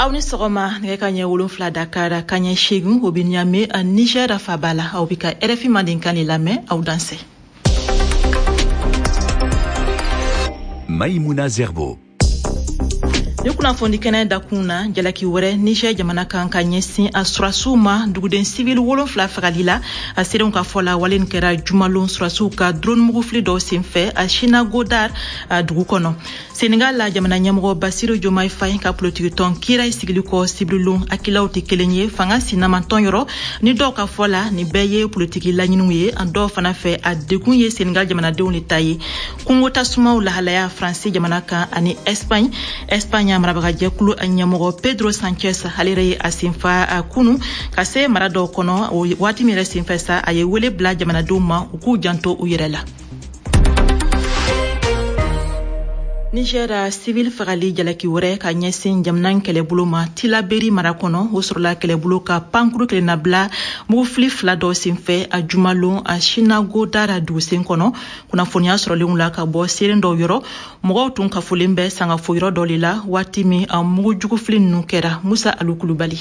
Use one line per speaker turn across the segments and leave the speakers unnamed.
Aw ni sɔgɔma. Nɛgɛ ka ɲɛ 7 Dakar, ka ɲɛ 8 o bɛ Niamey, Niger faba la. Aw bɛ ka RFI Mandenkan de lamɛn. Aw dansɛ.
Maïmouna Zerbo.
Ni kunnafoni kɛnɛ dakun na, jalaki wɛrɛ Niger jamana kan ka ɲɛsin a surasiw ma, duguden sivili 7 fagali la. A seerenw ka fɔ la, wale nin kɛra jumalon surasiw ka drone mugufili dɔw senfɛ a Chinagodar a dugu kɔnɔ. Senegal la, jamana ɲɛmɔgɔ Basiru Diomaye Faye ka politikitɔn Kiraay sigili kɔ sibirilon, akilaw tɛ kelen ye fanga sinamantɔn yɔrɔ. Ni dɔw ka fɔ la, nin bɛɛ ye politiki laɲiniw ye, an dɔw fana fɛ, a degun ye Senegal jamanadenw de ta ye. Kungo tasumaw lahalaya Faransi jamana kan ani Espagne. Espagne marabagajɛkulu ɲɛmɔgɔ Pedro Sanchez, ale yɛrɛ ye a senfa kunu ka se mara dɔw kɔnɔ. O waati min yɛrɛ senfɛ sa, a ye wele bila jamanadenw ma u k'u janto u yɛrɛ la. Niger, civil fagali jalaki wɛrɛ ka ɲɛsin jamana kɛlɛbolo ma Tilaberi mara kɔnɔ, o sɔrɔla kɛlɛbolo ka pankuru kelennabila mugufili fila dɔ senfɛ a jumalon a Chinagodara dugusen kɔnɔ. Kunnafoniya sɔrɔlenw la ka bɔ seeren dɔw yɔrɔ, mɔgɔw tun kafolen bɛ sangafo yɔrɔ dɔ de la waati min a mugujugufili ninnu kɛra. Musa Alu Kulubali.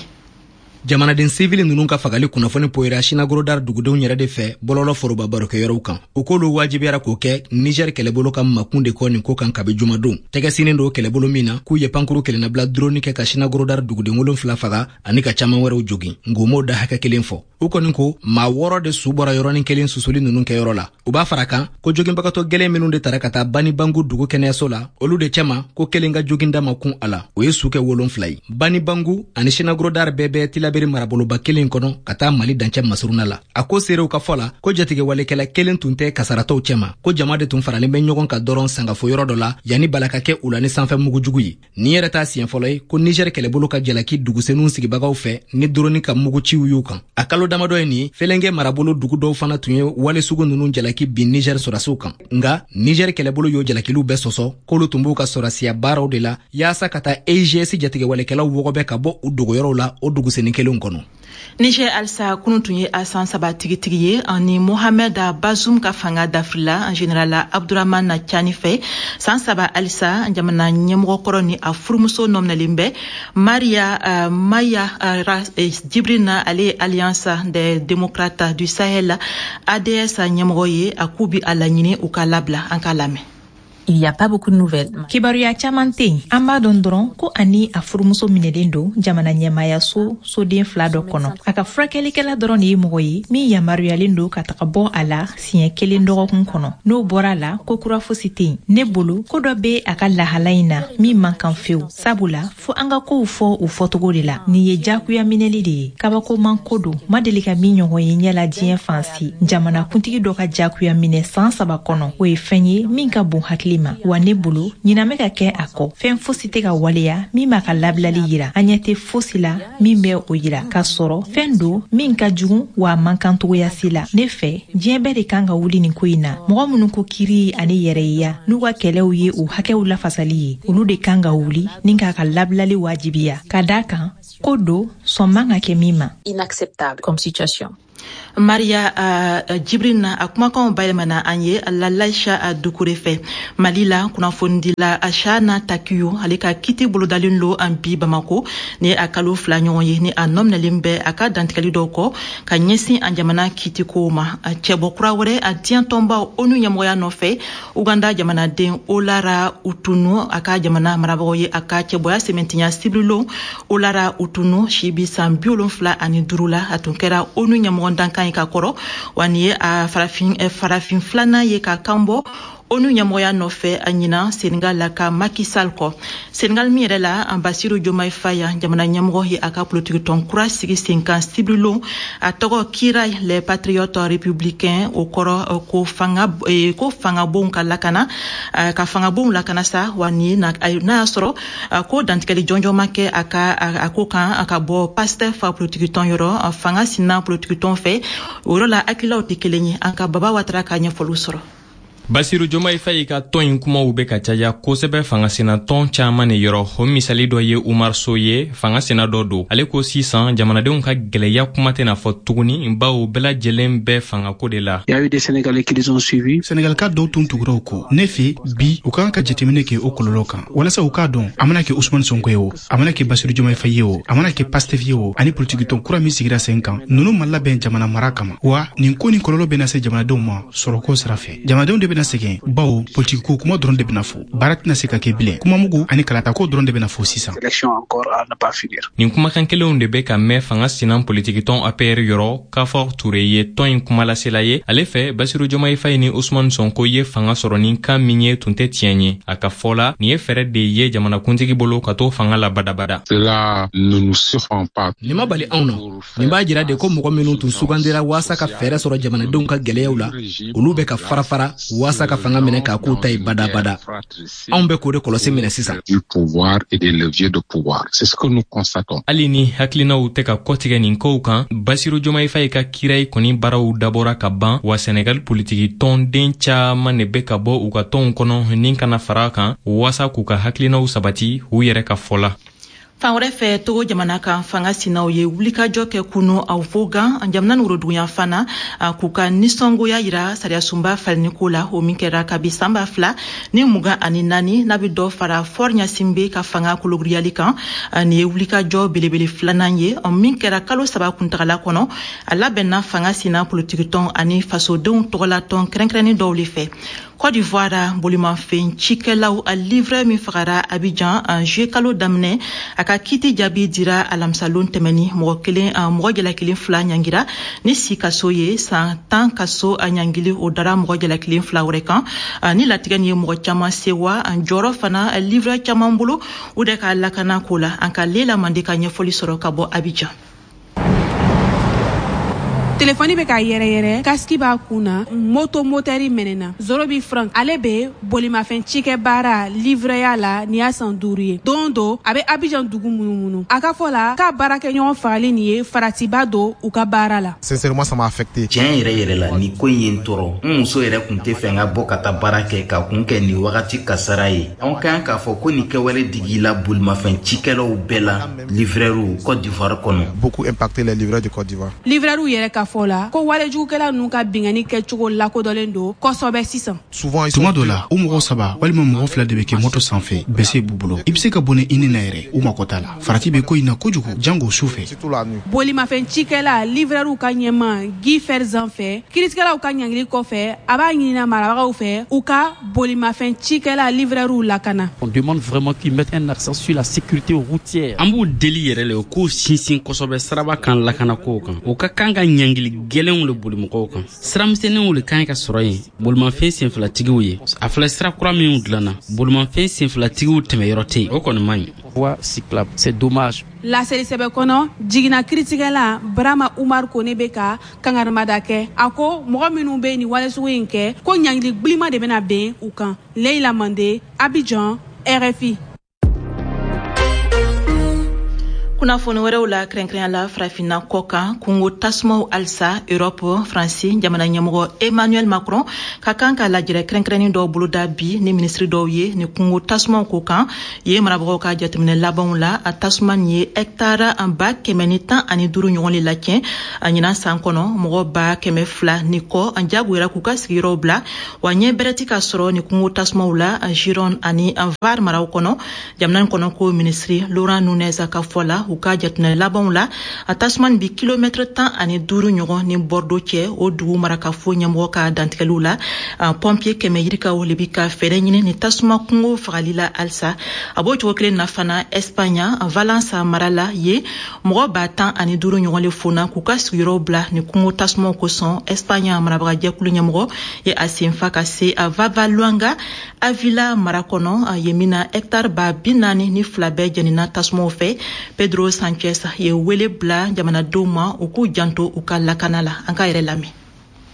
Jamanaden sivili ninnu ka fagali kunnafoni poyira Sinagorodar dugudenw yɛrɛ de fɛ bɔlɔlɔ foroba barokɛyɔrɔw kan. U k'olu wajibiyara k'o kɛ Niger kɛlɛbolo ka makun de kɔ nin ko kan kabi jumadon. Tɛgɛ sinin don kɛlɛbolo min na k'u ye pankuru kelennabila droni kɛ ka Sinagorodar duguden 7 faga ani ka caaman wɛrɛw jogin, nk'u m'o da hakɛ kelen fɔ. U kɔni ko maa 6 de su bɔra yɔrɔnin kelen susuli ninnu kɛyɔrɔ la. U b'a fara kan ko joginbagatɔ gɛlɛn minnu de tara ka taa Bani Bangu dugu kɛnɛyaso la, olu de cɛma ko kelen ka joginda ma kun a la, o ye su kɛ 7 ye. Bani Bangu ani Sinagorodar bɛɛ bɛ Tilaberi maraboloba kelen kɔnɔ ka taa Mali dancɛ masuruna la. A ko seerew ka fɔ la ko jatigɛwalekɛla kelen tun tɛ kasaratɔw cɛma, ko jama de tun faralen bɛ ɲɔgɔn kan dɔrɔn sangafo yɔrɔ dɔ la yanni bala ka kɛ u la ni sanfɛ mugujugu ye. Nin yɛrɛ t'a siɲɛ fɔlɔ ye ko Niger kɛlɛbolo ka jalaki dugusenw sigibagaw fɛ ni droni ka muguciw y'u kan. A kalo damadɔ ye nin, Fɛlɛnkɛ marabolo dugu dɔw fana tun ye wale sugu ninnu jalaki bin Niger sɔrɔdasiw kan. Nka Niger kɛlɛbolo y'o jalakiliw bɛɛ sɔsɔ, k'olu tun b'u ka sɔrɔdasiya baaraw de la yaasa ka taa EIGS jatigɛwalekɛlaw wɔgɔbɛ ka bɔ u dogoyɔrɔw la o dugusenni kelenw kɔnɔ.
Niger halisa, kunun tun ye a san 3 tigitigi ye ani Mohamed Bazoum ka fanga dafirila général Abdourahmane Tiani fɛ. San 3 halisa, jamana ɲɛmɔgɔ kɔrɔ ni a furumuso nɔminɛlen bɛ, Maria Maya Djibril, ale ye Alliance des démocrates du Sahel, ADS ɲɛmɔgɔ ye, a k'u bi a laɲini u ka labila. An k'a lamɛn.
Il n'y a pas beaucoup de nouvelles.
Kibaruya caman tɛ yen. An b'a dɔn dɔrɔn ko ani a furumuso minɛlen don jamana ɲɛmayaso soden fila dɔ kɔnɔ. A ka furakɛlikɛla dɔrɔn de ye mɔgɔ ye min yamaruyalen don ka taga bɔ a la siɲɛ kelen dɔgɔkun kɔnɔ. N'o bɔra a la, ko kura fosi tɛ yen. Ne bolo, ko dɔ bɛ a ka lahala in na min man kan fewu, sabula fo an ka kow fɔ u fɔcogo de la. Nin ye jagoya minɛli de ye, kabakoman ko don, ma deli ka min ɲɔgɔn ye ɲɛ la diɲɛ fan si. Jamana kuntigi dɔ ka jagoya minɛ san 3 kɔnɔ, o ye fɛn ye min ka bon hakili ma. Wa ne bolo, ɲinan bɛ ka kɛ a kɔ, fɛn fosi tɛ ka waleya min b'a ka labilali yira. An ɲɛ tɛ fosi la min bɛ o yira, k'a sɔrɔ fɛn don min ka jugu, wa a man kan togoya si la. Ne fɛ, diɲɛ bɛɛ de kan ka wuli nin ko in na. Mɔgɔ minnu ko kiri ani yɛrɛyeya n'u ka kɛlɛw ye u hakɛw lafasali ye, olu de kan ka wuli ni k'a ka labilali wajibiya, ka da kan ko don sɔn man ka kɛ min ma.
Inacceptable comme situation.
Maria Djibril a kumakanw bayɛlɛmana an ye Lalaisha Dukure fɛ. Mali la, kunnafonidila Chana Takiyu, ale ka kiti bolodalen lo an bi Bamako ni a kalo 2 ɲɔgɔn ye ni a nɔminɛlen bɛ a ka dantigɛli dɔw kɔ ka ɲɛsin an jamana kitikow ma. Cɛbɔ kura wɛrɛ a diɲɛ tɔnbaw ONU ɲɛmɔgɔya nɔfɛ, Uganda jamanaden Olara Utunu, a ka jamana marabagaw ye a ka cɛbɔya sɛmɛntiya sibirilon. Olara Utunu si bi san 75 la, a tun kɛra ONU ɲɛmɔgɔ dankan ye ka kɔrɔ, wa nin ye a farafin filanan ye ka kan bɔ ONU ɲɛmɔgɔya nɔfɛ a ɲinan Senegal la ka Macky Sall kɔ. Senegal min yɛrɛ la, an Bassirou Diomaye Faye, jamana ɲɛmɔgɔ ye a ka politiki tɔn kura sigi sen kan sibirilon, a tɔgɔ Kiraay les patriotes républicains. O kɔrɔ ko ko fangabonw ka lakana, ka fangabonw lakana sa. Wa nin n'a y'a sɔrɔ ko dantigɛli jɔnjɔn ma kɛ a ka a ko kan a ka bɔ Pastef politiki tɔn yɔrɔ, fanga sinna politiki tɔn fɛ. O yɔrɔ la, hakililaw tɛ kelen ye. An ka Baba Watara ka ɲɛfɔliw sɔrɔ.
Basiru Jomayi Fayi ka tɔn in kumaw bɛ ka caya kosɛbɛ fangasinatɔn caman de yɔrɔ. O misali dɔ ye Umar So ye, fangasina dɔ don. Ale ko sisan jamanadenw ka gwɛlɛya kuma tɛna fɔ tuguni, bawo bɛɛ lajɛlen bɛ fangako de la.
Senegalika dɔw tun tugura u kɔ. Ne fɛ bi, u ka kan ka jateminɛ kɛ o kɔlɔlɔ kan walasa u k'a dɔn, a mana kɛ Usumani Sonko ye o, a mana kɛ Basiru Jomayi Fayi ye o, a mana kɛ Pastef ye o, ani politikitɔn kura min sigira sen kan, ninnu ma labɛn jamana mara kama. Wa nin ko nin kɔlɔlɔ bɛna se jamanadenw ma sɔrɔko sira fɛ. Jamanadenw de bɛna sɛgɛn, bawo politikiko kuma dɔrɔn de bɛna fɔ, baara tɛna se ka kɛ bilen, kumamugu ani kalatako dɔrɔn de bɛna fɔ sisan.
Nin kumakan kelenw de bɛ ka mɛn fanga sinan politikitɔn APR yɔrɔ. Kafor Ture ye tɔn in kumalasela ye. Ale fɛ, Basiru Jomayi Fayi ni Usumani Sonko ye fanga sɔrɔ ni kan min ye, tun tɛ tiɲɛ ye. A ka fɔ la, nin ye fɛɛrɛ de ye jamanakuntigi bolo ka to fanga la badabada.
Nin ma bali anw na. Nin b'a jira de ko mɔgɔ minnu tun sugandira waasa ka fɛɛrɛ sɔrɔ jamanadenw ka gwɛlɛyaw la, olu bɛ ka fara fara waasa ka fanga minɛ k'a k'u ta ye badabada. Anw bɛ k'o de kɔlɔsi minɛ sisan.
Hali ni hakilinaw tɛ ka kɔtigɛ nin kow kan, Basiru Jomayi Fayi ka kirayi kɔni baaraw dabɔra ka ban wa. Senegal politiki tɔnden caaman de bɛ ka bɔ u ka tɔnw kɔnɔ ni kana fara kan waasa k'u ka hakilinaw sabati u yɛrɛ ka fɔ la.
Fan wɛrɛ fɛ, Togo jamana kan, fanga sinaw ye wulikajɔ kɛ kunu aw Vogan, jamana ni woroduguyanfan na, k'u ka nisɔngoya yira sariyasunba falenni la, o min kɛra kabi san 2024, n'a bɛ dɔ fara Faure Gnassingbé ka fanga kologiriyali kan. Nin ye wulikajɔ belebele filanan ye min kɛra kalo 3 kuntagala kɔnɔ. A labɛnna fanga sina politikitɔn ani fasodenw tɔgɔlatɔn kɛrɛnkɛrɛnnen dɔw le fɛ. Côte d'Ivoire, bolimafɛn cikɛlaw a livreur min fagara Abidjan en juillet kalo daminɛ, a ka kiti jaabi dira alamisalon tɛmɛni. Mɔgɔ kelen, mɔgɔ jalakilen fila ɲangira ni si kaso ye. San 10 kaso a ɲangili, o dara mɔgɔ jalakilen fila wɛrɛ kan. Ni latigɛ nin ye mɔgɔ caman sewa jɔyɔrɔ fana livreur caman bolo u de ka lakana ko la. An ka Lela Mande ka ɲɛfɔli sɔrɔ ka bɔ Abidjan.
Telefɔni bɛ ka yɛrɛyɛrɛ, casque b'a kun na, moto motɛri mɛnɛna. Zorobi Frank, ale bɛ bolimafɛn cikɛ baara livreya la nin y'a san 5 ye. Don do a bɛ Abidjan dugu munumunu. A ka fɔ la k'a baarakɛɲɔgɔn fagali nin ye faratiba don u ka baara la.
Sincèrement, ça m'a affecté.
Tiɲɛ yɛrɛ yɛrɛ la, nin ko in ye n tɔɔrɔ. N muso yɛrɛ kun tɛ fɛ n ka bɔ ka taa baara kɛ ka kun kɛ nin wagati kasara ye. Anw ka kan k'a fɔ ko nin kɛwale digila bolimafɛn cikɛlaw bɛɛ la, livreurw Côte d'Ivoire kɔnɔ.
Beaucoup impacté les livreurs de Côte d'Ivoire.
Livreurw yɛrɛ ka fɔ la ko walejugukɛla ninnu ka bingani kɛcogo lakodɔnlen don kosɛbɛ sisan.
Tuma dɔ la, u mɔgɔ saba walima mɔgɔ fila de bɛ kɛ moto sanfɛ, bese b'u bolo. I bɛ se ka bɔnɛ i ni na yɛrɛ, u mako t'a la. Farati bɛ ko in na kojugu, jango su fɛ.
Bolimafɛn cikɛla livreurw ka ɲɛma Guy Ferzan fɛ, kiiritigɛlaw ka ɲangili kɔfɛ, a b'a ɲinina marabagaw fɛ u ka bolimafɛn cikɛla livreurw lakana.
On demande vraiment qu'ils mettent un accent sur la sécurité routière.
An b'u deli yɛrɛ le, u k'u sinsin kosɛbɛ siraba kan lakanako kan. U ka kan ka ɲangili gwɛlɛnw le boli mɔgɔw kan. Siramisɛnninw le kan ka sɔrɔ yen bolimafɛn senfilatigiw ye. A filɛ, sira kura minw dilanna, bolimafɛn senfilatigiw tɛmɛyɔrɔ tɛ yen, o kɔni man ɲi.
Voie cyclable, c'est dommage.
Laseli sɛbɛ kɔnɔ, jiginna kiritigɛla Barama Umar Kone bɛ ka kangarimada kɛ. A ko mɔgɔ minnu bɛ nin wale sugu in kɛ, ko ɲangili gbilima de bɛna ben u kan. Leila Mande, Abidjan, RFI.
Kunnafoni wɛrɛw la, kɛrɛnkɛrɛnya la farafinna kɔ kan, kungo tasumaw halisa Europe. Faransi jamana ɲɛmɔgɔ Emmanuel Macron ka kan ka lajɛrɛ kɛrɛnkɛrɛnnin dɔw boloda bi ni minisiri dɔw ye ni kungo tasumaw ko kan ye. Marabagaw ka jateminɛ labanw la, a tasuma nin ye hɛktara 115,000 ɲɔgɔn le lacɛn a ɲinan san kɔnɔ. Mɔgɔ 200,000 ni kɔ an jagoyara k'u ka sigiyɔrɔw bila wa. Ɲɛ bɛrɛ ti ka sɔrɔ ni kungo tasumaw la Gironde ani Var maraw kɔnɔ. Jamana kɔnɔ ko minisiri Laurent Nunez ka fɔ la, u ka jateminɛ labanw la, a tasuma nin bi kilomɛtɛrɛ 15 ɲɔgɔn ni Bordeaux cɛ, o dugu marakafo ɲɛmɔgɔ ka dantigɛliw la. Pompier 100 yirikaw le bi ka fɛɛrɛ ɲini ni tasuma kungo fagali la halisa. A b'o cogo kelen na fana Espagne, Valence mara la ye, mɔgɔ 15,000 ɲɔgɔn le fonna k'u ka sigiyɔrɔw bila ni kungo tasumaw kosɔn. Espagne marabagajɛkulu ɲɛmɔgɔ ye a senfa ka se a Vavaluanga Avila mara kɔnɔ yen min na hɛktare 42,000 bɛɛ jɛnina tasumaw fɛ. Pedro Sanchez ye wele bila jamanadenw ma u k'u janto u ka lakana la. An k'a yɛrɛ lamɛn.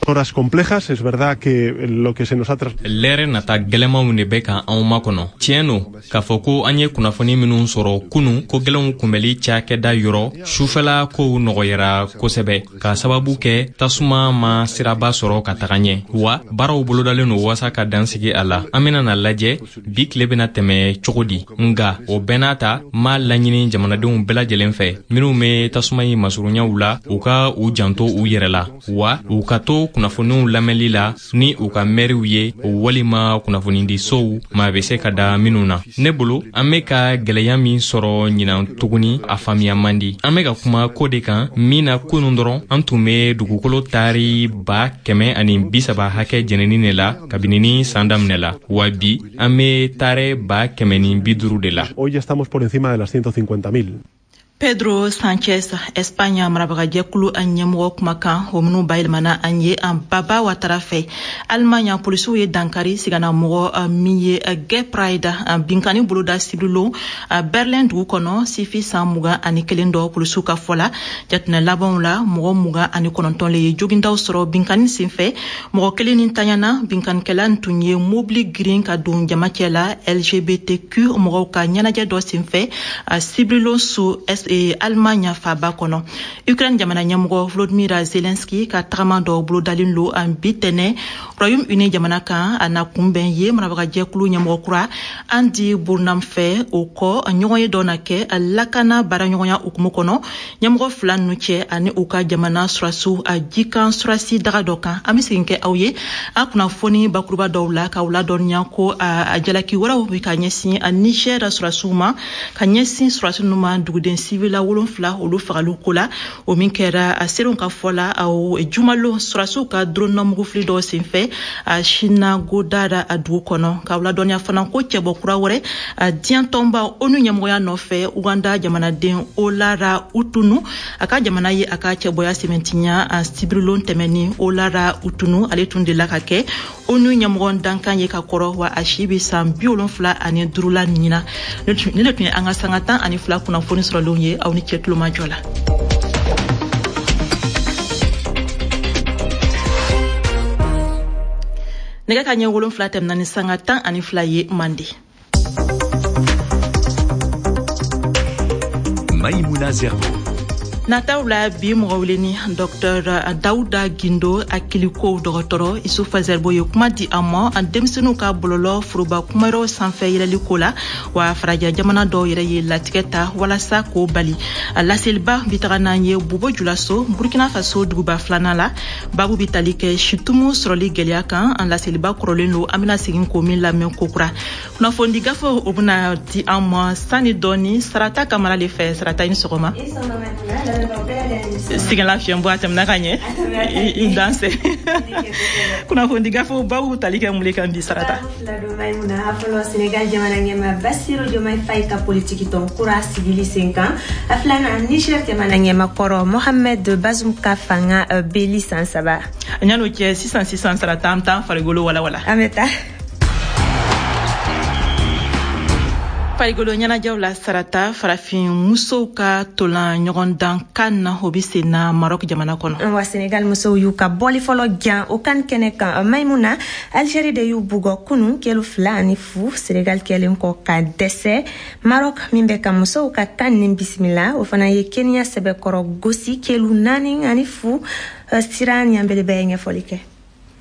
Horas complejas, es verdad que lo que se nos ha
Lɛrɛ nata gwɛlɛmanw de bɛ ka anw makɔnɔ. Tiɲɛ don k'a fɔ ko an ye kunnafoni minw sɔrɔ kunu, ko gwɛlɛnw kunbɛli cakɛda yɔrɔ, sufɛla kow nɔgɔyara kosɛbɛ k'a sababu kɛ tasuma ma siraba sɔrɔ ka taga ɲɛ, wa baaraw bolodalen don waasa ka dan sigi a la. An bena na lajɛ bi tile bena tɛmɛ cogo di. Nga o bɛɛ n'a ta, m'a laɲini jamanadenw bɛɛ lajɛlen fɛ minw be tasuma in masurunyaw la, u ka u janto u yɛrɛ la, wa u ka to kunnafoniw lamɛnli la ni u ka mɛriw ye walima kunnafonidisow maa bɛ se ka da minnu na. Ne bolo, an bɛ ka gwɛlɛya min sɔrɔ ɲinan tuguni, a faamuya man di. An bɛ ka kuma ko de kan min na kunun dɔrɔn an tun bɛ dugukolo taari 130,000 hakɛ jɛnini de la kabini ni san daminɛ la, wa bi an bɛ taari 150,000 de la.
Hoy ya estamos por encima de las 150.000.
Pedro Sanchez, Espagne marabagajɛkulu a ɲɛmɔgɔ kumakan, o minnu bayɛlɛmana an ye an Baba Watara fɛ. Allemagne, polisiw ye dankari sigana mɔgɔ min ye Gay Pride binkani boloda sibirilon Berlin dugu kɔnɔ, sifi san 21 dɔ. Polisiw ka fɔ la, jatinɛ labanw la, mɔgɔ 29 le ye jogindaw sɔrɔ binkani senfɛ, mɔgɔ kelen ni tanyana. Binkanikɛla tun ye mobili girin ka don jama cɛ la LGBTQ mɔgɔw ka ɲɛnajɛ dɔ senfɛ sibirilon su Allemagne faaba kɔnɔ. Ukraine jamana ɲɛmɔgɔ Volodymyr Zelensky ka tagama dɔ bolodalen lo an bi tɛnɛ Royaume-Uni jamana kan. A na kunbɛn ye marabagajɛkulu ɲɛmɔgɔ kura Andy Burnham fɛ. O kɔ, ɲɔgɔn ye dɔ na kɛ lakana baaraɲɔgɔnya hukumu kɔnɔ ɲɛmɔgɔ fila ninnu cɛ ani u ka jamana surasiw a jikan surasi daga dɔ kan. An bɛ segin kɛ aw ye a kunnafoni bakuruba dɔw la k'aw ladɔnniya ko a jalaki wɛrɛw bɛ ka ɲɛsin Niger surasiw ma, ka ɲɛsin surasi ninnu ma duguden sivila 7 olu fagaliw ko la, o min kɛra a seerew ka fɔ la jumalon surasiw ka drone mugufili dɔw senfɛ a Sinagodara a dugu kɔnɔ. K'aw ladɔnniya fana ko cɛbɔ kura wɛrɛ diɲɛ tɔnba ONU ɲɛmɔgɔya nɔfɛ, Uganda jamanaden Olara Utunu, a ka jamana ye a ka cɛbɔya sɛmɛntiya sibirilon tɛmɛni. Olara Utunu, ale tun delila ka kɛ ONU ɲɛmɔgɔ dankan ye ka kɔrɔ, wa a si bɛ san 75 la ɲinan. Ni de tun ye an ka sanga 12 kunnafoni sɔrɔlenw ye. Aw ni cɛ tulomajɔ la. Nɛgɛ ka ɲɛ 7 tɛmɛna ni sanga 12 ye Mande.
Maïmouna Zerbo.
Nataw la bi, mɔgɔ weleni Dr Dawuda Gindo, akiliko dɔgɔtɔrɔ. Isufa Zerbo ye kuma di an ma an denmisɛnninw ka bɔlɔlɔ foroba kumayɔrɔ sanfɛ yɛlɛli ko la, wa farajɛ jamana dɔw yɛrɛ ye latigɛ ta walasa k'o bali. A laseliba bi taga n'an ye Bobo Julaso, Burkina Faso duguba filanan la. Babu bi tali kɛ situmu sɔrɔli gwɛlɛya kan. An laseliba kɔrɔlen don, an bena segin k'o min lamɛn kokura. Kunnafonidi gafe, o bena di an ma sani dɔɔni Sarata Kamara le fɛ. Sarata, i ni sɔgɔma. Sɛgɛn lafiɲɛ bɔ a tɛmɛna ka ɲɛ, i danse. Kunnafonidi gafew babu tali kɛ mun le kan bi, Sarata?
Maïmouna, a fɔlɔ, Sénégal jamana ɲɛma Bassirou Diomaye Faye ka politiki tɔn kura sigili sen kan. A filanan, Niger jamana ɲɛma kɔrɔ Mohamed Bazoum ka fanga beli san 3.
Yan'o cɛ, sisan sisan, Sarata, an bɛ taa farikolo walawala.
An bɛ taa.
Farikolo ɲɛnajɛw la, Sarata, farafin musow ka tolan ɲɔgɔndan CAN, o bɛ sen na Maroc jamana kɔnɔ.
Wa Senegal musow y'u ka bɔli fɔlɔ jan o CAN kɛnɛ kan. Maimuna, Algérie de y'u bugɔ kunun kelu 2-0, Senegal kɛlen kɔ ka dɛsɛ. Maroc min bɛ ka musow ka CAN nin bisimila, o fana ye Kenya sɛbɛkɔrɔ gosi kelu 4-0. Sira Ɲanbele bɛ ɲɛfɔli kɛ.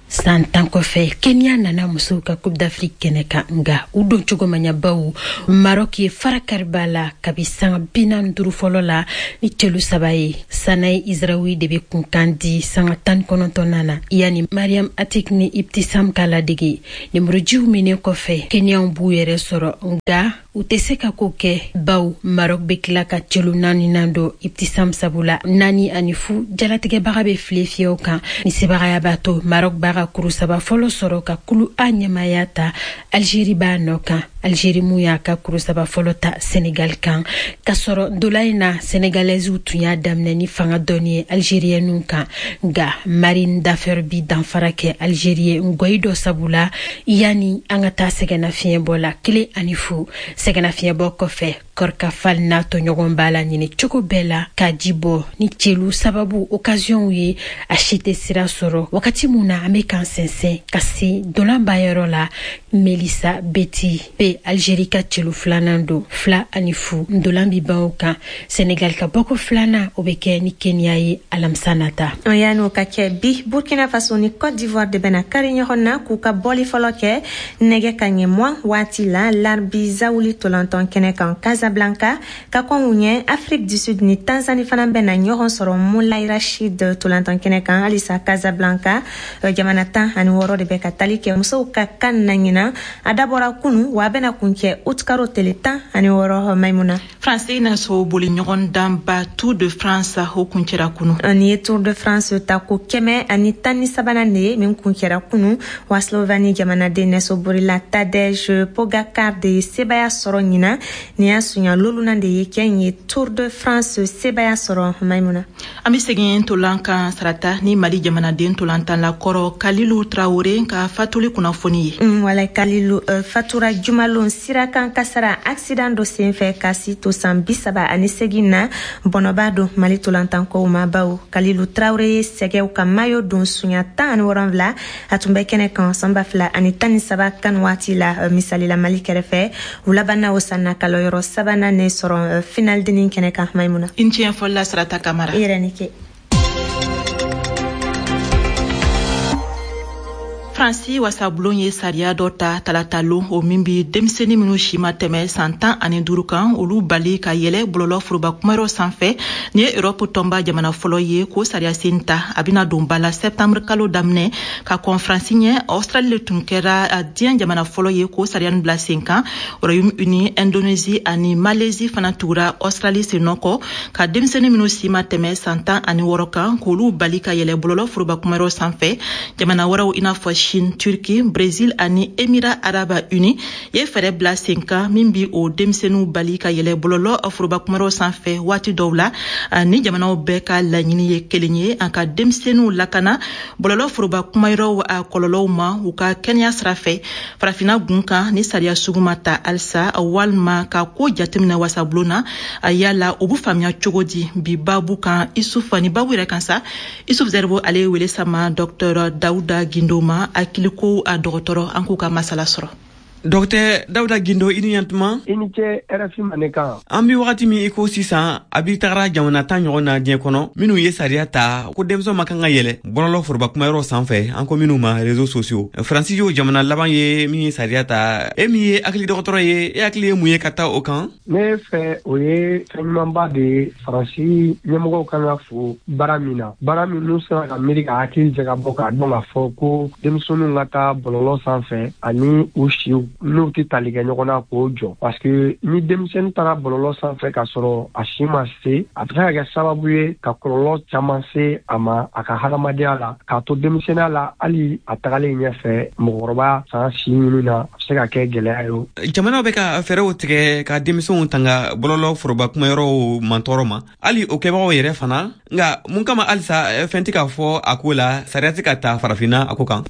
San 10 kɔfɛ, Kenya nana musow ka Coupe d'Afrique kɛnɛ kan, nga u don cogo ma ɲa, baw Maroc ye fara kariba la kabi sanga 45 fɔlɔ la ni cɛlu 3 ye. Sanayi Israwi de be kunkan di sanga 19nan na, yani Mariam Atik ni Ibtisam ka ladege. Nemurujiw minen kɔfɛ, Kenyaw b'u yɛrɛ sɔrɔ, nga u tɛ se ka ko kɛ, baw Maroc be tila ka cɛlu naaninan don Ibtisam sabula 4-0. Jalatigɛbaga be file fiyɛw kan. Ni sebagaya b'a to Maroc b'a ka kuru 3 fɔlɔ sɔrɔ ka kulu A ɲɛmaya ta, Algérie b'a nɔ kan. Algérie mun y'a ka kuru 3 fɔlɔ ta Sénégal kan, k'a sɔrɔ ndola in na Sénégalaisew tun y'a daminɛ ni fanga dɔɔni ye Algérienw kan, nka Marine Dafer bi danfara kɛ Algérie ye ngɔyi dɔ sabula, yanni an ka taa sɛgɛnnafiɲɛbɔ la, 1-0. Sɛgɛnnafiɲɛbɔ kɔfɛ, Korka Fall n'a tɔɲɔgɔn b'a la ɲini cogo bɛɛ la ka ji bɔ ni celu sababu occasionw ye, a si tɛ sira sɔrɔ. Wagati mun na an bɛ k'an sɛnsɛn ka se ntolanbanyɔrɔ la, Melissa Beti be Algérie ka celu filanan don, 2-0. Ntolan bi ban o kan. Senegal ka bɔko filanan, o bɛ kɛ ni Kenya ye alamisa nata.
Yan'o ka kɛ, bi Burkina Faso ni Côte d'Ivoire de bɛna kari ɲɔgɔn na k'u ka bɔli fɔlɔ kɛ nɛgɛ ka ɲɛ 20 waati la Larbi Zawuli tolantɔn kɛnɛ kan Casablanca. Ka kɔn u ɲɛ, Afrique du Sud ni Tanzanie fana bɛna ɲɔgɔn sɔrɔ Moulay Rachid tolantɔn kɛnɛ kan halisa Casablanca. Jamana 16 de bɛ ka tali kɛ musow ka CAN na ɲinan. A dabɔra kunu, wa a bɛna kuncɛ utikaro tele 16. Maimuna.
Faransi nɛgɛso boli ɲɔgɔn danba Tour de France, o kuncɛra kunu.
Nin ye Tour de France tako 113nan de ye min kuncɛra kunu, wa Slovanie jamanaden nɛsobolila Tadej Pogacar de ye sebaya sɔrɔ ɲinan. Nin y'a sunya lolunan de ye kɛ in ye Tour de France sebaya sɔrɔ, Maimuna.
An bɛ segin tolan kan sarata ni Mali jamanaden tolantanla kɔrɔ Kalilu Traore ka fatuli kunnafoni ye.
Wala Kalilu fatura jumalon sirakan kasara accident dɔ senfɛ ka si to san 38 na. Bɔnɔba don Mali tolantankow ma, bawo Kalilu Traore ye sɛgɛw ka mayo don sunya 17. A tun bɛ kɛnɛ kan san 2013 CAN waati la, misalila Mali kɛrɛfɛ. U labanna o san na kalɔyɔrɔ sabanan ne sɔrɔ final denni kɛnɛ kan, Maimuna.
I ni ce ɲɛfɔli la, Sarata Kamara.
I yɛrɛ ni ke.
Faransi wasabulon ye sariya dɔ ta talata lon, o min bi denmisɛnnin minnu si ma tɛmɛ san 15 kan, olu bali ka yɛlɛ bɔlɔlɔ foroba kumayɔrɔ sanfɛ. Nin ye Europe tɔnba jamana fɔlɔ ye k'o sariya sen ta. A bɛna don ba la septembre kalo daminɛ. Ka kɔn Faransi ɲɛ, Australie le tun kɛra diɲɛ jamana fɔlɔ ye k'o sariya nin bila sen kan. Royaume-Uni, Indonésie ani Malaisie fana tugura Australie sen nɔ kɔ ka denmisɛnnin minnu si ma tɛmɛ san 16 kan, k'olu bali ka yɛlɛ bɔlɔlɔ foroba kumayɔrɔ sanfɛ. Jamana wɛrɛw i n'a fɔ Chine, Turquie, Brésil ani Émirats Arabes Unis ye fɛɛrɛ bila sen kan min bi o denmisɛnninw bali ka yɛlɛ bɔlɔlɔ foroba kumayɔrɔ sanfɛ waati dɔw la. Ni jamanaw bɛɛ ka laɲini ye kelen ye, an ka denmisɛnninw lakana bɔlɔlɔ foroba kumayɔrɔw a kɔlɔlɔw ma u ka kɛnɛya sira fɛ. Farafinna gun kan, ni sariya sugu ma ta halisa walima ka ko jateminɛ wasabulon na, yala o bɛ faamuya cogo di? Bi babu kan, Isuf, ni babu yɛrɛ kan sa, Isuf Zerbo ale ye wele sama Dr Dawuda Gindo ma, hakiliko a dɔgɔtɔrɔ. An k'u ka masala sɔrɔ.
Dɔgɔtɛ Dawuda Gindo, i ni ɲantuma.
I ni ce RFI Mandenkan.
An bi wagati min i ko sisan, a bi tagara jamana 10 ɲɔgɔn na diɲɛ kɔnɔ minnu ye sariya ta ko denmisɛnw ma kan ka yɛlɛ bɔlɔlɔ foroba kumayɔrɔ sanfɛ, an ko minnu ma réseaux sociaux. Faransi y'o jamana laban ye min ye sariya ta. E min ye hakili dɔgɔtɔrɔ ye, e hakili ye mun ye ka taa o kan?
Ne fɛ, o ye fɛn ɲumanba de ye. Faransi ɲɛmɔgɔw kan ka fo baara min na, baara min n'u sera ka miiri ka hakili jagabɔ k'a dɔn k'a fɔ ko denmisɛnninw ka taa bɔlɔlɔ sanfɛ ani u siw n'u tɛ tali kɛ ɲɔgɔn na, k'o jɔ, parce que ni denmisɛnnin taara bɔlɔlɔ sanfɛ k'a sɔrɔ a si ma se, a bɛ se ka kɛ sababu ye ka kɔlɔlɔ caman se a ma a ka hadamadenya la, k'a to denmisɛnninya la, hali a tagalen ɲɛfɛ mɔgɔkɔrɔba san si ɲini na, a bɛ se ka kɛ gɛlɛya ye.
Jamanaw bɛ ka fɛɛrɛw tigɛ ka denmisɛnw tanga bɔlɔlɔ foroba kumayɔrɔw mantɔɔrɔ ma, hali o kɛbagaw yɛrɛ fana. Nka mun kama halisa fɛn tɛ ka fɔ a ko la, sariya tɛ ka ta farafinna a ko kan?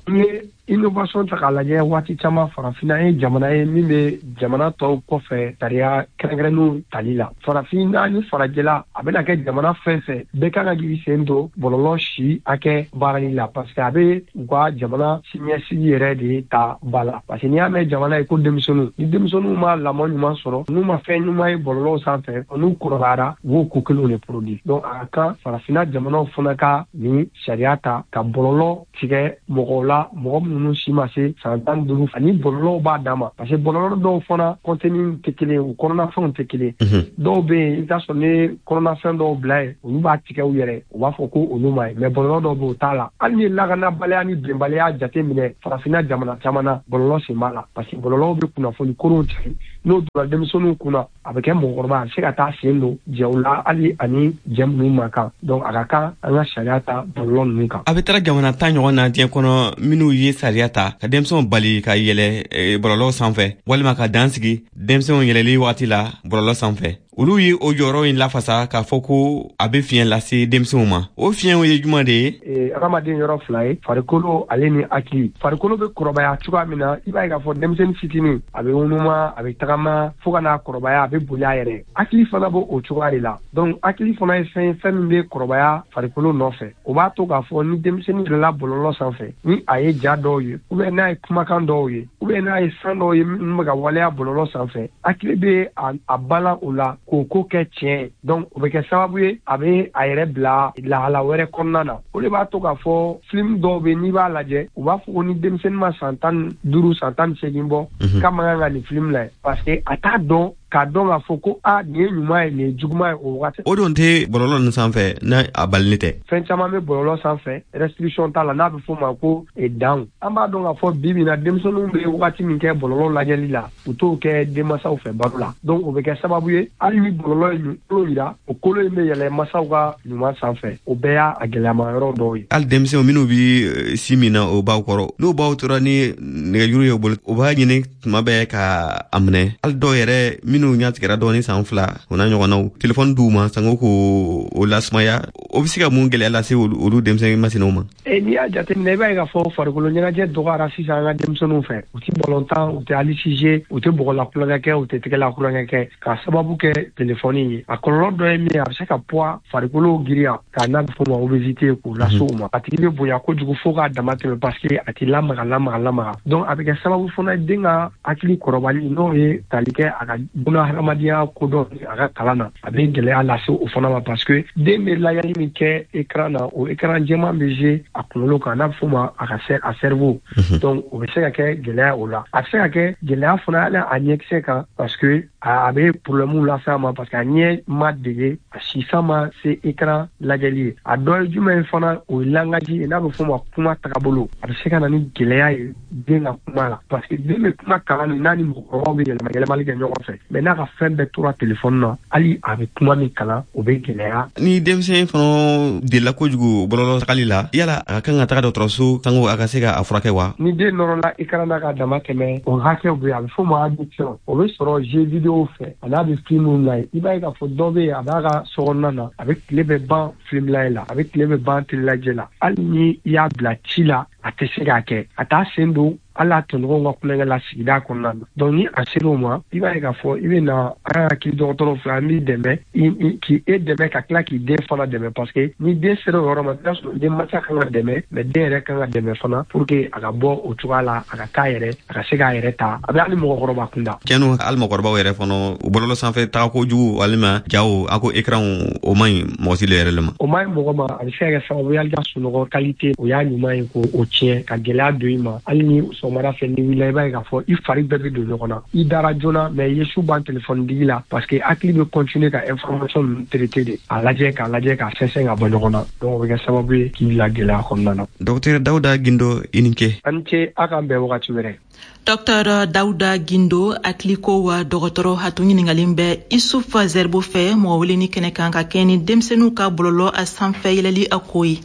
Innovation ta k'a lajɛ, waati caman farafinna ye jamana ye min bɛ jamana tɔw kɔfɛ sariya kɛrɛnkɛrɛnnenw tali la. Farafinna ni farajɛla, a bɛna kɛ jamana fɛn fɛn bɛɛ kan ka k'i sen don bɔlɔlɔ si hakɛ baarali la, parce que a bɛ u ka jamana siniɲɛsigi yɛrɛ de ta ba la, parce que n'i y'a mɛn jamana ye ko denmisɛnninw, ni denmisɛnninw ma lamɔ ɲuman sɔrɔ, n'u ma fɛn ɲuman ye bɔlɔlɔw sanfɛ, n'u kɔrɔbayara, u b'o ko kelenw de produit. Donc a ka kan farafinna jamanaw fana ka nin sariya ta ka bɔlɔlɔ tigɛ mɔgɔw la, mɔgɔ minnu si ma se san 15, ani bɔlɔlɔw b'a dan ma, parce que bɔlɔlɔ dɔw fana contenu tɛ kelen, u kɔnɔnafɛnw tɛ kelen. Dɔw bɛ yen, i bɛ taa sɔrɔ ni kɔnɔnafɛn dɔw bila yen, olu b'a tigɛ u yɛrɛ, u b'a fɔ ko olu ma ye, mais bɔlɔlɔ dɔw bɛ yen, o t'a la. Hali ni lakanabaliya ni bɛnbaliya jate minɛ farafinna jamana caman na, bɔlɔlɔ sen b'a la, parce que bɔlɔlɔw bɛ kunnafoni koronw cari. N'o donna denmisɛnninw kunna, a bɛ kɛ mɔgɔkɔrɔba, a bɛ se ka taa sen don jɛw la, hali ani jɛ minnu man kan. Donc a ka kan an ka sariya ta bɔlɔlɔ ninnu kan.
A bɛ taara jamana 10 ɲɔgɔn na diɲɛ kɔnɔ minnu ye sariya ta ka denmisɛnw bali ka yɛlɛ bɔlɔlɔ sanfɛ, walima ka dan sigi denmisɛnw yɛlɛli wagati la bɔlɔlɔ sanfɛ. Olu ye o jɔyɔrɔ in lafasa k'a fɔ ko a bɛ fiɲɛ lase denmisɛnw ma. O fiɲɛw ye jumɛn de ye?
Hadamaden yɔrɔ fila ye, farikolo ale ni hakili. Farikolo bɛ kɔrɔbaya cogoya min na, i b'a ye k'a fɔ denmisɛnnin fitinin a bɛ ŋunuma, a bɛ tagama fo ka n'a kɔrɔbaya, a bɛ boli a yɛrɛ. Hakili fana b'o o cogoya de la. Donc hakili fana ye fɛn ye, fɛn min bɛ kɔrɔbaya farikolo nɔfɛ. O b'a to k'a fɔ ni denmisɛnnin yɛlɛla bɔlɔlɔ sanfɛ, ni a ye ja dɔw ye, ou bien n'a ye kumakan dɔw ye, ou bien n'a ye fɛn dɔw ye minnu bɛ ka waleya bɔlɔlɔ sanfɛ, hakili bɛ a balan o la k'o ko kɛ tiɲɛ ye. Donc o bɛ kɛ sababu ye a bɛ a yɛrɛ bila lahala wɛrɛ kɔnɔna na. O de b'a to k'a fɔ film dɔw bɛ, n'i b'a lajɛ, u b'a fɔ ko ni denmisɛnnin ma san 15, san 18 bɔ, k'a man kan ka nin film lajɛ, parce que a t'a dɔn k'a dɔn k'a fɔ ko a nin ye ɲuman ye, nin ye juguman ye o wagati.
O don tɛ bɔlɔlɔ ninnu sanfɛ n'a a balili tɛ.
Fɛn caman bɛ bɔlɔlɔ sanfɛ, restriction t'a la, n'a bɛ f'o ma ko danw. An b'a dɔn k'a fɔ bi bi in na, denmisɛnninw bɛ wagati min kɛ bɔlɔlɔ lajɛli la, u t'o kɛ denmansaw fɛ baro la. Donc o bɛ kɛ sababu ye, hali ni bɔlɔlɔ ye kolo yira, o kolo in bɛ yɛlɛ masaw ka ɲuman sanfɛ. O bɛɛ y'a gɛlɛyama yɔrɔ dɔw ye.
Hali denmisɛnw minnu bɛ sin min na o baw kɔrɔ, n'o baw tora ni nɛgɛjuru ye u bolo, u b'a ɲini tuma bɛɛ ka a minɛ. Hali dɔw yɛrɛ minnu ɲɛ tigɛra dɔɔni san 2 o n'a ɲɔgɔnnaw, telefɔni d'u ma sango k'o lasumaya. O bɛ se ka mun gɛlɛya lase olu denmisɛnnin masinaw ma?
N'i y'a jateminɛ, i b'a ye k'a fɔ farikolo ɲɛnajɛ dɔgɔyara sisan an ka denmisɛnninw fɛ. U tɛ bɔlɔntan, u tɛ hali sije, u tɛ bɔgɔla kulonkɛ kɛ, u tɛ tɛgɛla kulonkɛ kɛ, k'a sababu kɛ telefɔni ye. A kɔlɔlɔ dɔ ye min ye, a bɛ se ka poids farikolo girinya, k'a n'a bɛ f'o ma obésité, k'o lase u ma. A tigi bɛ bonya kojugu fo k'a dama tɛmɛ, parce que a t'i lamaga lamaga lamaga. Donc a bɛ kɛ sababu fana ye den ka hakili kɔrɔbali, n'o ye tali kɛ a ka bunahadamadenya kodɔn, a ka kalan na, a bɛ gɛlɛya lase o fana ma, parce que den bɛ layɛli min kɛ écran na, o écran jɛman bɛ jouer a kunkolo kan, n'a bɛ f'o ma a ka a cerveau. Donc o bɛ se ka kɛ gɛlɛya o la. A bɛ se ka kɛ gɛlɛya fana hali a ɲɛkisɛ kan, parce que a bɛ problème lase a ma, parce que a ɲɛ ma dege, a sisan ma se écran lajɛli ye. A dɔ ye jumɛn ye fana, o ye langage ye, n'a bɛ f'o ma kuma tagabolo. A bɛ se ka na ni gɛlɛya ye den ka kuma la, parce que den bɛ kuma kalan ni n'a ni mɔgɔkɔrɔbaw bɛ yɛlɛma yɛlɛmali kɛ ɲɔgɔn fɛ, mais n'a ka fɛn bɛɛ tora telefɔni na, hali a bɛ kuma min kalan, o bɛ gɛlɛya.
Ni denmisɛn fana delila kojugu bɔlɔlɔ tagali la, yala a ka kan ka taga dɔgɔtɔrɔso sango a ka se ka a furakɛ wa?
Ni den nɔrɔla écran na ka dama tɛmɛ, o hakɛw bɛ yen, a bɛ f'o ma addiction. O bɛ sɔrɔ jeu vidéo fɛ, a n'a bɛ film lajɛ. I b'a ye k'a fɔ dɔ bɛ yen, a b'a ka sokɔnɔna na, a bɛ tile bɛɛ ban film lajɛ la, a bɛ tile bɛɛ ban télé lajɛ la. Hali ni i y'a bila ci la, a tɛ se k'a kɛ, a t'a sen don hali a tɔɲɔgɔnw ka kulonkɛ la sigida kɔnɔna na. Donc ni a sera o ma, i b'a ye k'a fɔ i bɛ na an hakili dɔgɔtɔrɔw fɛ, an b'i dɛmɛ, k'i e dɛmɛ ka tila k'i den fana dɛmɛ, parce que ni den sera o yɔrɔ ma, i b'a sɔrɔ den mansa kan ka dɛmɛ, mais den yɛrɛ kan ka dɛmɛ fana pour que a ka bɔ o cogoya la, a ka k'a yɛrɛ, a ka se k'a yɛrɛ ta. A bɛ hali mɔgɔkɔrɔba kunda.
Tiɲɛ don, hali mɔgɔkɔrɔbaw yɛrɛ fana, u bɔlɔlɔ sanfɛ taga kojugu walima jaw, a ko écran, o man ɲi mɔgɔ si yɛrɛ le ma.
O man ɲi mɔgɔ ma, a bɛ se ka kɛ sababu ye hali ka sunɔgɔ qualité, o y'a ɲuman ye k'o tiɲɛ, ka gɛlɛya don i ma. Hali ni sɔgɔmada fɛ n'i wulila, i b'a ye k'a fɔ i fari bɛɛ bɛ don ɲɔgɔn na, i dara joona, mais i ye su ban telefɔni digi la, parce que hakili bɛ continuer ka information ninnu traiter de, a lajɛ k'a lajɛ k'a sɛnsɛn ka bɔ ɲɔgɔn na. Donc o bɛ kɛ sababu ye k'i bila gɛlɛya kɔnɔna na.
Docteur Dawuda Gindo, i ni ce.
A ni ce, a k'an bɛn wagati wɛrɛ.
Dr Dawuda Gindo, hakiliko wa dɔgɔtɔrɔ, a tun ɲininkalen bɛ Isuf Zerbo fɛ mɔgɔ weleni kɛnɛ kan ka kɛɲɛ ni denmisɛnninw ka bɔlɔlɔ a sanfɛ yɛlɛli a ko ye.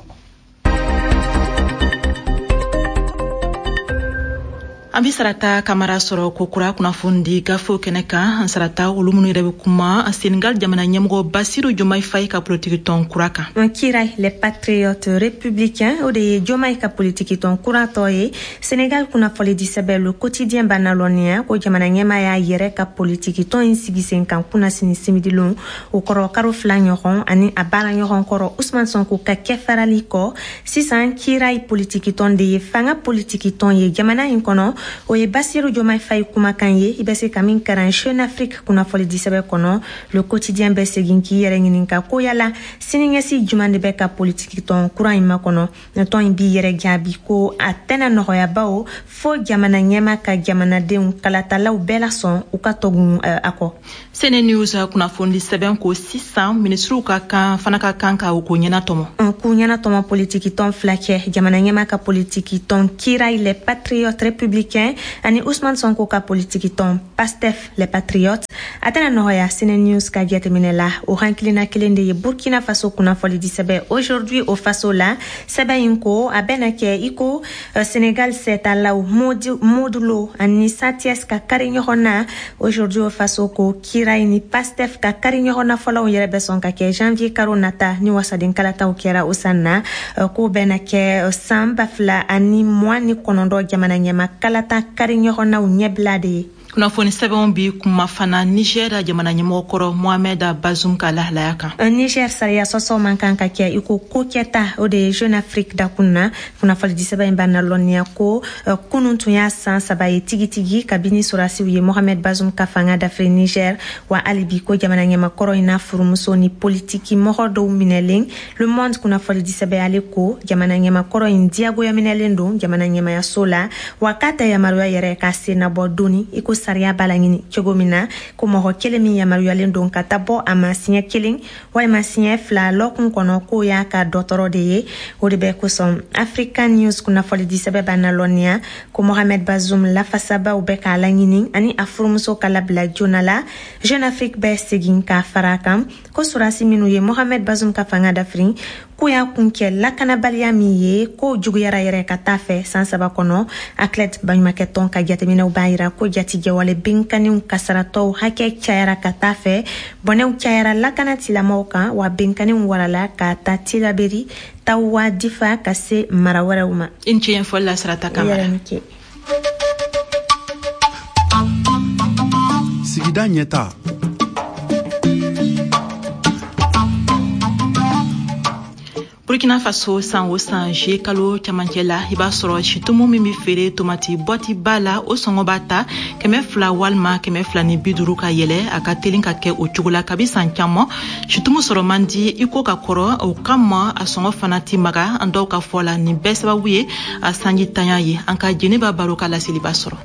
An bɛ Sarata Kamara sɔrɔ ko kura kunnafoni di gafew kɛnɛ kan. An Sarata, olu minnu yɛrɛ bɛ kuma Senegal jamana ɲɛmɔgɔ Basiru Diomaye Faye ka politiki tɔn kura kan.
Kirail, les patriotes républicains, o de ye Diomaye ka politiki tɔn kura tɔ ye. Senegal kunnafonidi sɛbɛn Le Quotidien b'a nalɔnniya ko jamana ɲɛmaa y'a yɛrɛ ka politiki tɔn in sigi sen kan kunnasini simidilon, o kɔrɔ karo 2 ɲɔgɔn, ani a baara ɲɔgɔn kɔrɔ Ousmane Sonko ka kɛfarali kɔ. Sisan Kirail politiki tɔn de ye fanga politiki tɔn ye jamana in kɔnɔ. O ye Basiru Diomaye Faye kumakan ye, i bɛ se ka min karan Jeune Afrique kunnafonidi sɛbɛn kɔnɔ. Le Quotidien bɛ segin k'i yɛrɛ ɲininka ko yala siniɲɛsigi jumɛn de bɛ ka politiki tɔn kura in makɔnɔ. Tɔn in b'i yɛrɛ jaabi ko a tɛna nɔgɔya, bawo fo jamana ɲɛmaa ka jamanadenw kalatalaw bɛɛ lasɔn u ka tɔgun a kɔ.
Sene News kunnafonidi sɛbɛn ko sisan minisiriw ka kan fana ka kan ka u ko ɲɛnatɔmɔ.
K'u ɲɛnatɔmɔ politiki tɔn 2 cɛ, jamana ɲɛmaa ka politiki tɔn Kirail les patriotes républicains ani Ousmane Sonko ka politiki tɔn Pastef les patriotes. A tɛna nɔgɔya. Sene News ka jateminɛ la, o hakilina kelen de ye Burkina Faso kunnafonidi sɛbɛn Aujourd'hui au Faso la. Sɛbɛn in ko a bɛna kɛ i ko Senegal sɛtalaw Modou Lo ani Sa Thiès ka kari ɲɔgɔn na. Aujourd'hui au Faso ko Kirayi ni Pastef ka kari ɲɔgɔn na fɔlɔw yɛrɛ bɛ sɔn ka kɛ janvier karo nata, ni wasaden kalataw kɛra o san na. Ko bɛna kɛ san 2029 jamana ɲɛma kalata kari ɲɔgɔnnaw ɲɛbila de ye.
Kunnafoni sɛbɛnw bi kuma fana Niger jamana ɲɛmɔgɔ kɔrɔ Mohamed Bazoum ka lahalaya kan.
Niger sariya sɔsɔ man kan ka kɛ i ko ko kɛta, o de ye Jeune Afrique dakun na. Kunnafonidi sɛbɛn in b'a nalɔnniya ko kunun tun y'a san 3 ye tigitigi kabini sɔrɔdasiw ye Mohamed Bazoum ka fanga dafiri Niger. Wa hali bi ko jamana ɲɛmakɔrɔ in n'a furumuso ni politiki mɔgɔ dɔw minɛlen. Le Monde kunnafonidi sɛbɛn, ale ko jamana ɲɛmakɔrɔ in diyagoya minɛlen don jamana ɲɛmayaso la, wa k'a tɛ yamaruya yɛrɛ ka sen nabɔ doni i ko sariya b'a laɲini cogo min na, ko mɔgɔ kelen min yamaruyalen don ka taa bɔ a ma siɲɛ kelen walima siɲɛ fila lɔkun kɔnɔ, k'o y'a ka dɔgɔtɔrɔ de ye. O de bɛ kosɔn African News kunnafonidi sɛbɛn b'a nalɔnniya ko Mohamed Bazoum lafasabaw bɛ k'a laɲini ani a furumuso ka labila joona la. Jeune Afrique bɛ segin k'a fara a kan ko sɔrɔdasi minnu ye Mohamed Bazoum ka fanga dafiri, k'o y'a kun kɛ lakanabaliya min ye, k'o juguyara yɛrɛ ka taa fɛ san 3 kɔnɔ. ACLED baɲumankɛtɔn ka jateminɛw b'a yira ko jatigɛwale binkanniw kasaratɔw hakɛ cayara ka taa fɛ, bɔnɛw cayara lakana tigilamɔgɔw kan, wa binkanniw warala ka taa Tilaberi, Tawa, Difa ka se mara wɛrɛw ma.
I ni ce ɲɛfɔli la, Sarata Kamara.
Sigida ɲɛta.
Burkina Faso, san o san juillet kalo camancɛ la, i b'a sɔrɔ situmu min bɛ feere tomati bɔti ba la, o sɔngɔ b'a ta 200 walima 250 ka yɛlɛ. A ka telin ka kɛ o cogo la kabi san caman. Situmu sɔrɔ man di i ko ka kɔrɔ, o kama a sɔngɔ fana ti maga. An dɔw ka fɔ la, nin bɛɛ sababu ye a sanji tanya ye. An ka Jɛnɛba Baro ka laseliba sɔrɔ.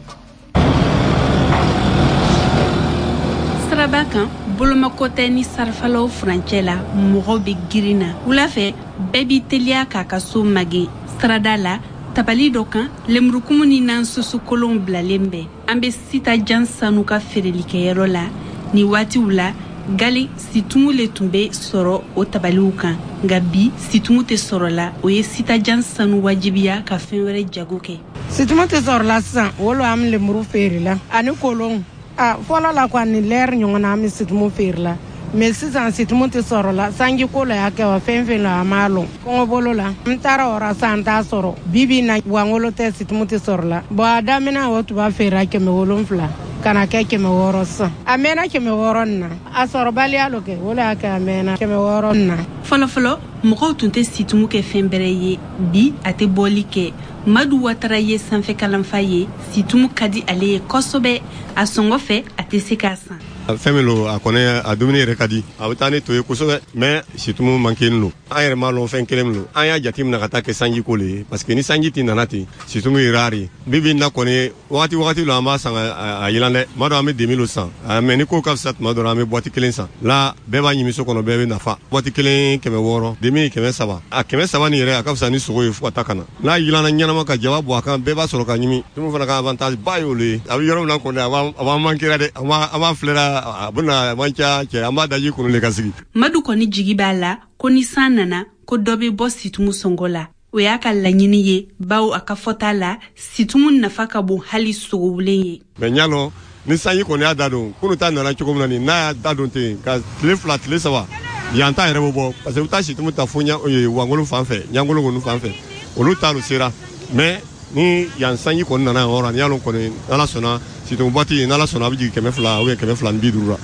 Siraba kan, bolomako tɛ ni sarifalaw furancɛ la, mɔgɔw bɛ girin na. Wula fɛ, bɛɛ b'i teliya k'a ka so magɛn. Sirada la, tabali dɔ kan, lemurukumu ni nansoso kolonw bilalen bɛ. An bɛ Sitajan Sanu ka feerelikɛyɔrɔ la. Nin waatiw la, gale situmu le tun bɛ sɔrɔ o tabaliw kan, nka bi situmu tɛ sɔrɔ la. O ye Sitajan Sanu wajibiya ka fɛn wɛrɛ jago kɛ.
Situmu tɛ sɔrɔ la sisan, o lo an bɛ lemuru feere la ani kolonw. A fɔlɔ la kɔni, ni lɛri ɲɔgɔn na an bɛ situmu feere la, mais sisan situmu tɛ sɔrɔ la. Sanji ko la y'a kɛ wa fɛn fɛn la, an m'a lɔn. Kɔngɔ bolo la, n taara o ra sisan, n t'a sɔrɔ. Bi bi in na, wangolo tɛ, situmu tɛ sɔrɔ la. Bon, a daminɛ o tun b'a feere 700 ka na kɛ 600 sisan. A mɛnna 600 nin na, a sɔrɔbaliya lo kɛ, o le y'a kɛ a mɛnna 600 nin na.
Fɔlɔfɔlɔ, mɔgɔw tun tɛ situmu kɛ fɛn bɛrɛ ye. Bi a tɛ bɔli kɛ. Madu Watara ye sanfɛ kalanfa ye. Situmu ka di ale ye kosɛbɛ. A sɔngɔ fɛ, a tɛ se k'a san.
Fɛn min lo, a kɔni a dumuni yɛrɛ ka di, a bɛ taa ni to ye kosɛbɛ, mais situmu manqué lo. An yɛrɛ m'a lɔn fɛn kelen min lo, an y'a jateminɛ ka taa kɛ sanji ko le ye, parce que ni sanji tɛ nana ten, situmu ye rare ye. Bi bi in na kɔni, wagati wagati lo an b'a san a yilan dɛ. Tuma dɔ an bɛ demi lo san, mais ni ko ka fisa, tuma dɔ la an bɛ boîte kelen san la. Bɛɛ b'a ɲimi so kɔnɔ, bɛɛ bɛ nafa. Boîte kelen 600, demi 300. A 300 nin yɛrɛ, a ka fisa ni sogo ye fo ka taa ka na n'a yilanna ɲɛnama ka jaba bɔ a kan, bɛɛ b'a sɔrɔ ka ɲimi. Tumu fana ka avantage ba y'o le ye. A bɛ yɔrɔ min na kɔni, a b'an manquera dɛ. An b'a filɛra, a bɛna man ca cɛ, an b'a daji kunu le ka sigi.
Madu kɔni jigi b'a la ko ni san nana, ko dɔ bɛ bɔ situmu sɔngɔ la. O y'a ka laɲini ye, bawo a ka fɔta la, situmu nafa ka bon hali sogowulen ye.
Mais n y'a lɔn ni sanji kɔni y'a da don, kunu ta nana cogo min na nin, n'a y'a da don ten ka tile 2 tile 3, yan ta yɛrɛ bɛ bɔ, parce que u taa situmu ta fo wangolo fan fɛ, ɲangolo kɔni fan fɛ, olu ta sera. Mais ni yan sanji kɔni nana yan yɔrɔ, ni y'a lɔn kɔni, n'Ala sɔnna, situmu boîte, n'Ala sɔnna, a bɛ jigin 200 ou bien 250 la.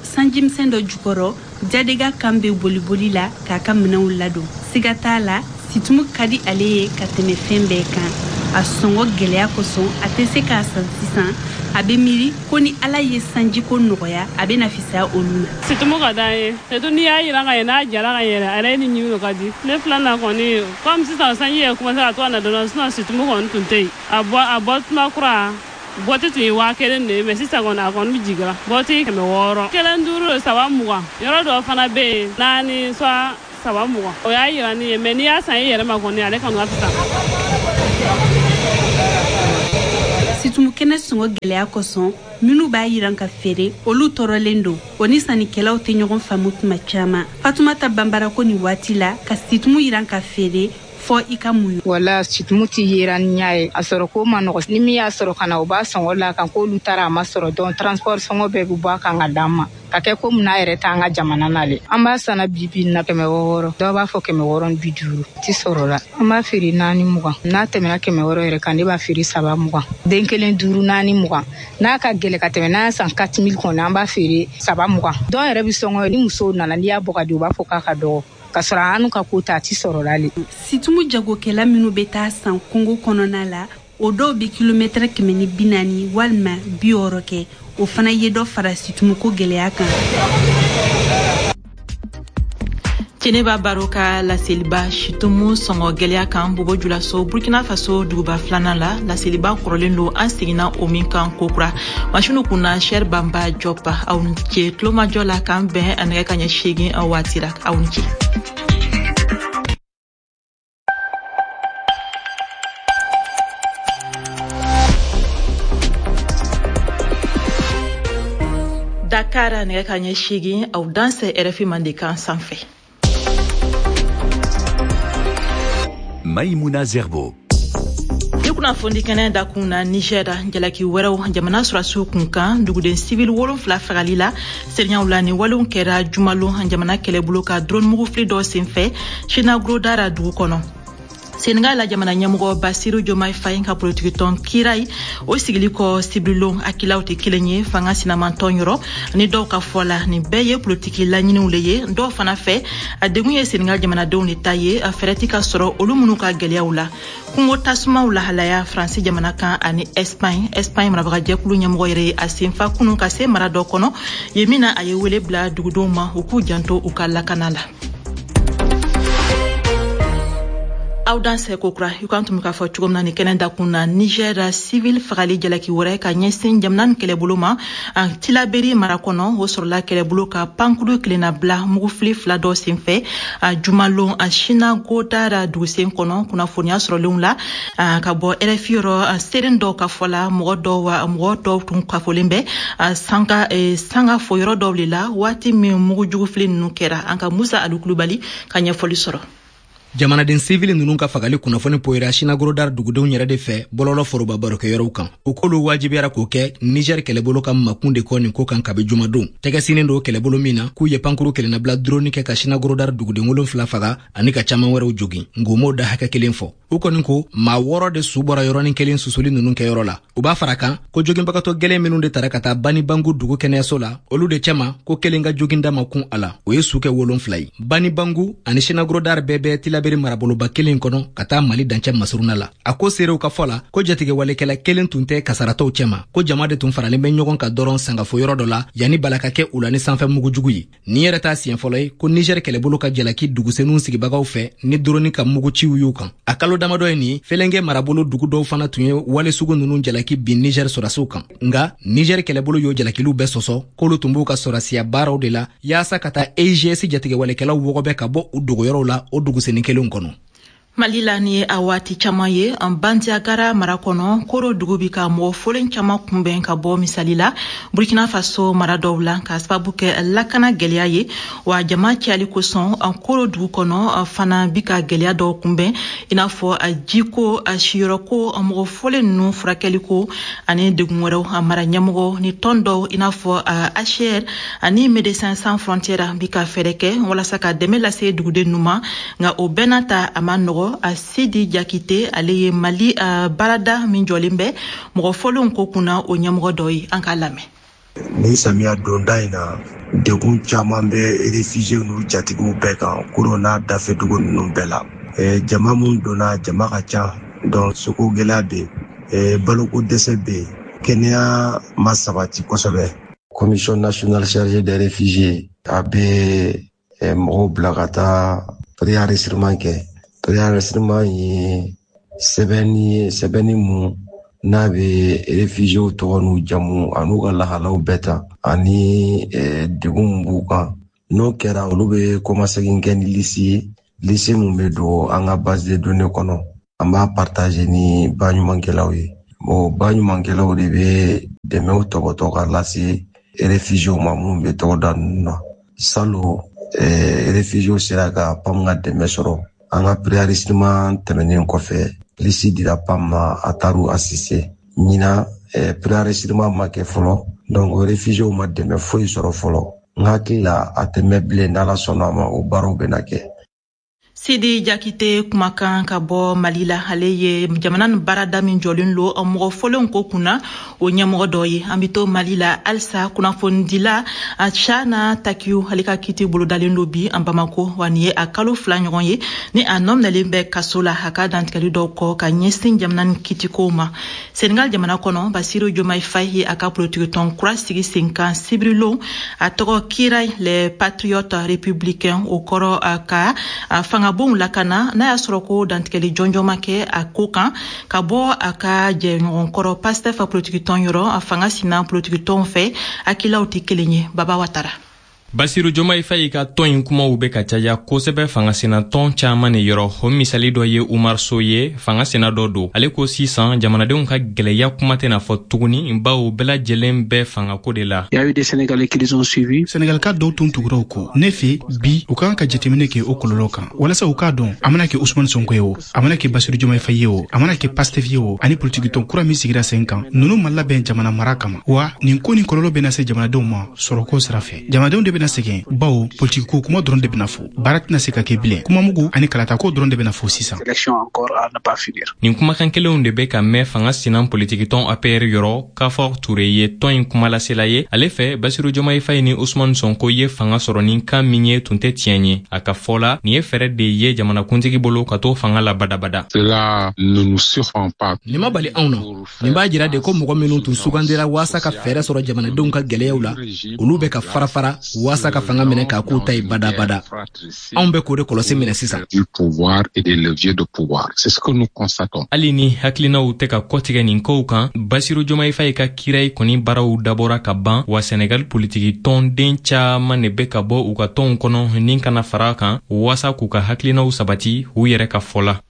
Sanjimisɛn dɔ jukɔrɔ, Jadega kan bɛ boliboli la k'a ka minɛnw ladon. Siga t'a la, situmu ka di ale ye ka tɛmɛ fɛn bɛɛ kan. A sɔngɔ gɛlɛya kosɔn, a tɛ se k'a san sisan. A bɛ miiri ko ni Ala ye sanjiko nɔgɔya, a bɛ na fisaya olu ma.
Situmu ka d'an ye, surtout n'i y'a yiran ka ɲɛ, n'a jara ka yɛlɛ, a yɛrɛ ni ɲimi ka di. Ne filanan kɔni, comme sisan sanji yɛrɛ commencé ka to ka na dɔɔnin, sinon situmu kɔni tun tɛ yen. A bɔ tuma kura, bɔti tun ye 1000 de ye, mais sisan kɔni a kɔni bɛ jigira. Bɔti 600. 1 5, 3 20. Yɔrɔ dɔw fana bɛ yen, 4 soit 3 20. O y'a yira ni ye, mais n'i y'a san i yɛrɛ ma kɔni, ale kɔni ka fisa.
Situmu kɛnɛ kɛnɛ sɔngɔ gɛlɛya kosɔn, minnu b'a yiran ka feere, olu tɔɔrɔlen don. O ni sannikɛlaw tɛ ɲɔgɔn faamu tuma caman. Fatumata Banbara ko nin waati la, ka situmu yiran ka feere, fɔ i ka muɲu.
Wala situmu tɛ yera ni ɲa ye, a sɔrɔ ko ma nɔgɔ. Ni min y'a sɔrɔ ka na, o b'a sɔngɔ la kan k'olu taara a ma sɔrɔ, donc transport sɔngɔ bɛɛ bɛ bɔ a kan ka d'an ma. Ka kɛ komi n'a yɛrɛ t'an ka jamana na le. An b'a sanna bi bi na 600, dɔw b'a fɔ 650, ti sɔrɔ la. An b'a feere 420, n'a tɛmɛna 600 yɛrɛ kan, ne b'a feere 320, den kelen 5 420. N'a ka gɛlɛ ka tɛmɛ, n'a san 4000 kɔnɔ, an b'a feere 320. Dɔw yɛrɛ bɛ sɔngɔ, ni musow nana, n'i y'a bɔ ka di, u b'a fɔ k'a ka dɔgɔ. Ka sɔrɔ an ka ko ta, a ti sɔrɔ la le.
Situmu jagokɛla minnu bɛ taa san kungo kɔnɔna la, o dɔw bɛ kilomɛtɛrɛ 140 walima 60 kɛ. O fana ye dɔ fara situmuko gɛlɛya kan.
Teneba Baro ka laseliba situmu sɔngɔ gɛlɛya kan Bobo Julaso, Burkina Faso duguba filanan la, laseliba kɔrɔlen don an seginna o min kan kokura. Masinu kunna Sher Bamba Diop, aw ni ce tulomajɔ la, k'an bɛn nɛgɛ kaɲɛ 8 waati la. Aw ni ce. Dakar nɛgɛ kaɲɛ 8, aw dansɛ RFI Mandenkan sanfɛ.
Maïmouna Zerbo.
Ni kunnafoni kɛnɛ dakun na, Niger jalaki wɛrɛw jamana sɔrɔdasiw kun kan duguden civil 7 fagali la seereyaw la. Ni walew kɛra jumalon jamana kɛlɛbolo ka drone mugufili dɔ senfɛ Chinagrodara dugu kɔnɔ. Senegal la jamana ɲɛmɔgɔ Basiru Diomaye Faye ka politikitɔn Kirai o sigili kɔ sibirilon akilaw tɛ kelen ye fanga sinamantɔn yɔrɔ ni dɔw ka fɔ la. Nin bɛɛ ye politiki laɲiniw le ye. Dɔw fana fɛ, a degun ye Senegal jamanadenw de ta ye, a fɛɛrɛ ti ka sɔrɔ olu minnu ka gɛlɛyaw la. Kungo tasumaw lahalaya Faransi jamana kan ani Espagne. Espagne marabagajɛkulu ɲɛmɔgɔ yɛrɛ ye a senfa kunun ka se mara dɔ kɔnɔ yen min na a ye wele bila dugudenw ma u k'u janto u ka lakana la. Aw dansɛ kokura, i kan tun bɛ k'a fɔ cogo min na ni kɛnɛ dakun na, Niger civil fagali jalaki wɛrɛ ka ɲɛsin jamana ni kɛlɛbolo ma Tilaberi mara kɔnɔ, o sɔrɔla kɛlɛbolo ka pankuru kelenna bila mugufili 2 dɔ senfɛ jumalon Sinagodara dugusen kɔnɔ. Kunnafoniya sɔrɔlenw la ka bɔ RFI yɔrɔ, seeren dɔw ka fɔ la, mɔgɔ dɔw tun kafolen bɛ sanga fo yɔrɔ dɔw de la waati min mugujugufili ninnu kɛra. An ka Musa Alu Kulubali ka ɲɛfɔli sɔrɔ.
Jamanaden sivili ninnu ka fagali kunnafoni poyira Sinagrodar dugudenw yɛrɛ de fɛ bɔlɔlɔ foroba barokɛyɔrɔw kan. U k'olu wajibiyara k'o kɛ Niger kɛlɛbolo ka makun de kɔ nin ko kan kabi jumadon. Tɛgɛ sinnen don kɛlɛbolo min na k'u ye pankuru kelennabila drone kɛ ka Sinagrodar duguden 7 faga ani ka caman wɛrɛw jogin. Nka m'o da hakɛ kelen fɔ. U kɔni ko maa 6 de su bɔra yɔrɔnin kelen susuli ninnu kɛyɔrɔ la. U b'a fara kan ko joginbagatɔ gɛlɛn minnu de tara ka taa Banibangu dugu kɛnɛyaso la, olu de cɛma ko kelen ka joginda ma kun a la, o ye su kɛ 7 ye. Banibangu ani Sinagrodar bɛɛ bɛ Tilaberi maraboloba kelen kɔnɔ ka taa Mali dancɛ masuruna la. A ko seerew ka fɔ la ko jatigɛwalekɛla kelen tun tɛ kasaratɔw cɛma, ko jama de tun faralen bɛ ɲɔgɔn kan dɔrɔn sangafo yɔrɔ dɔ la yanni bala ka kɛ u la ni sanfɛ mugujugu ye. Nin yɛrɛ t'a siɲɛ fɔlɔ ye ko Niger kɛlɛbolo ka jalaki dugusenw sigibagaw fɛ ni drone ka muguciw y'u kan. A kalo damadɔ ye nin, Fɛlɛnkɛ marabolo dugu dɔw fana tun ye wale sugu ninnu jalaki bin Niger sɔrɔdasiw kan. Nka Niger kɛlɛbolo y'o jalakiliw bɛɛ sɔsɔ k'olu tun b'u ka sɔrɔdasiya baaraw de la yaasa ka taa AIGS jatigɛwalekɛlaw wɔgɔbɛ ka bɔ u dogoyɔrɔw la o dugusenni kelenw kɔnɔ.
Mali la ni ye a waati caman ye, Bandiagara mara kɔnɔ, Koro dugu bi ka mɔgɔ folen caman kunbɛn ka bɔ misali la Burkina Faso mara dɔw la ka sababu kɛ lakana gɛlɛya ye. Wa jama cayali kosɔn, Koro dugu kɔnɔ fana bi ka gɛlɛya dɔw kunbɛn, i n'a fɔ jiko, siyɔrɔko, mɔgɔ folen ninnu furakɛliko ani degun wɛrɛw. Mara ɲɛmɔgɔ ni tɔn dɔw i n'a fɔ HCR ani Médecins Sans Frontières bi ka fɛɛrɛ kɛ walasa ka dɛmɛ lase duguden ninnu ma, nka o bɛɛ n'a ta a ma nɔgɔ. Sidi Jakite, ale ye Mali baarada min jɔlen bɛ mɔgɔ fɔlenw ko kunna o ɲɛmɔgɔ dɔ ye, an k'a lamɛn.
Ni samiya donda in na, degun caman bɛ réfugiés n'u jatigiw bɛɛ kan Koro n'a dafɛdugu ninnu bɛɛ la. Jama mun donna, jama ka ca, donc soko gɛlɛya bɛ yen, baloko dɛsɛ bɛ yen, kɛnɛya ma sabati kosɛbɛ. Commission nationale chargée des réfugiés a bɛ mɔgɔw bila ka taa préenregistrement kɛ. Préenregistrement ye sɛbɛnni mun n'a bɛ réfugiés tɔgɔ n'u jamu an'u ka lahalaw bɛɛ ta ani degun mun b'u kan. N'o kɛra, olu bɛ kɔmasegin kɛ ni lisi ye, lisi mun bɛ don an ka base de données kɔnɔ. An b'a partager ni baɲumankɛlaw ye. Bon, baɲumankɛlaw de bɛ dɛmɛw tɔbɔtɔ ka lase réfugiés ma minnu bɛ togoda ninnu na. Salon, réfugiés sera ka PAM ka dɛmɛ sɔrɔ. An ka préenregistrement tɛmɛnen kɔfɛ, liste dira PAM ma, a taar'u assister. Ɲinan, préenregistrement ma kɛ fɔlɔ, donc réfugiés ma dɛmɛ foyi sɔrɔ fɔlɔ. N hakili la a tɛ mɛn bilen, n'Ala sɔnna a ma, o baaraw bɛna kɛ.
Sidi Jakite kumakan ka bɔ Mali la. Ale ye jamana ni baarada min jɔlen lo mɔgɔ fɔlenw ko kunna, o ɲɛmɔgɔ dɔ ye. An bɛ to Mali la halisa. Kunnafonidila Chana Takiyu, ale ka kiti bolodalen do bi an Bamako. Wa nin ye a kalo 2 ɲɔgɔn ye ni a nɔ minɛlen bɛ kaso la, a ka dantigɛli dɔw kɔ ka ɲɛsin jamana ni kitikow ma. Senegal jamana kɔnɔ, Basiru Jomayi Fayi ye a ka politikitɔn kura sigi sen kan sibirilon, a tɔgɔ Kiray les Patriotes Républicains, o kɔrɔ ka fanga bonw lakana, n'a y'a sɔrɔ ko dantigɛli jɔnjɔn ma kɛ a ko kan ka bɔ a ka jɛɲɔgɔnkɔrɔ Pastef politikitɔn yɔrɔ. A fanga sina politikitɔnw fɛ, hakilaw tɛ kelen ye. Baba Watara.
Basiru Jomayi Fayi ka tɔn in kumaw bɛ ka caya kosɛbɛ fangasenatɔn caaman de yɔrɔ. O misali dɔ ye Umar So ye, fanga sena dɔ don. Ale ko sisan jamanadenw ka gwɛlɛya kuma tɛna fɔ tuguni, bawo bɛɛ lajɛlen bɛ fangako de la.
Senegalika dɔw tun tugura u kɔ. Ne fɛ bi, u ka kan ka jateminɛ kɛ o kɔlɔlɔ kan walasa u k'a dɔn, a mana kɛ Usumani Sonko ye o, a mana kɛ Basiru Jomayi Fayi ye o, a mana kɛ Pastef ye o, ani politikitɔn kura min sigira sen kan, ninnu ma labɛn jamana mara kama. Wa nin ko nin kɔlɔlɔ bɛna se jamanadenw ma sɔrɔko sira fɛ. Jamanadenw de bɛna sɛgɛn, bawo politikiko kuma dɔrɔn de bɛna fɔ, baara tɛna se ka kɛ bilen. Kumamugu ani kalatako dɔrɔn de bɛna fɔ sisan.
Nin kumakan kelenw de bɛ ka mɛn fanga sinan politikitɔn APR yɔrɔ. Kafor Ture ye tɔn in kumalasela ye. Ale fɛ, Basiru Jomayi Fayi ni Usumani Sonko ye fanga sɔrɔ ni kan min ye, tun tɛ tiɲɛ ye. A ka fɔ la, nin ye fɛɛrɛ de ye jamanakuntigi bolo ka to fanga la badabada.
Nin ma bali anw na. Nin b'a jira de ko mɔgɔ minnu tun sugandira waasa ka fɛɛrɛ sɔrɔ jamanadenw ka gwɛlɛyaw la, olu bɛ ka fara fara waasa ka fanga minɛ k'a k'u ta ye badabada. Anw bɛ k'o de kɔlɔsi minɛ sisan.
Hali ni hakilinaw tɛ ka kɔtigɛ nin kow kan, Basiru Jomayi Fayi ka Kirayi kɔni baaraw dabɔra ka ban. Wa Senegal politiki tɔnden caaman de bɛ ka bɔ u ka tɔnw kɔnɔ ni kana fara kan waasa k'u ka hakilinaw sabati u yɛrɛ ka fɔ la.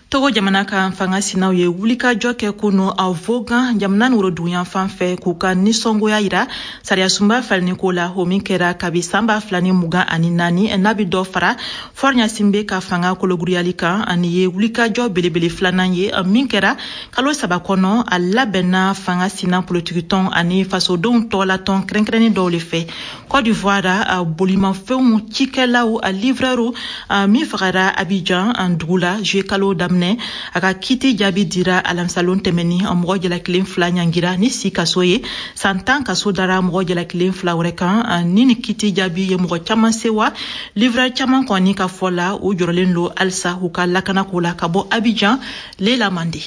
Togo jamana ka fanga sinaw ye wulikajɔ kɛ kunu a Vogan jamana ni woroduguyan fan fɛ, k'u ka nisɔngoya yira sariyasunba falenni ko la, o min kɛra kabi san 2024, n'a bi dɔ fara Faure Gnassingbé ka fanga kologiriyali kan. Ani ye wulikajɔ belebele filanan ye min kɛra kalo 3 kɔnɔ. A labɛnna fanga sina politikitɔn ani fasodenw tɔgɔlatɔn kɛrɛnkɛrɛnnen dɔw le fɛ. Côte d'Ivoire, bolimafɛnw cikɛlaw a livreurw min fagara Abidjan dugu la juillet kalo daminɛ, a ka kiti jaabi dira alamisalon tɛmɛni. Mɔgɔ jalakilen 2 ɲangira ni si kaso ye, san 10 kaso dara mɔgɔ jalakilen 2 wɛrɛ kan. Ni kiti jaabi ye mɔgɔ caman sewa. Livreur caman kɔni ka fɔ la, u jɔrɔlen lo halisa u ka lakanako la. Ka bɔ Abidjan, Lela Mande.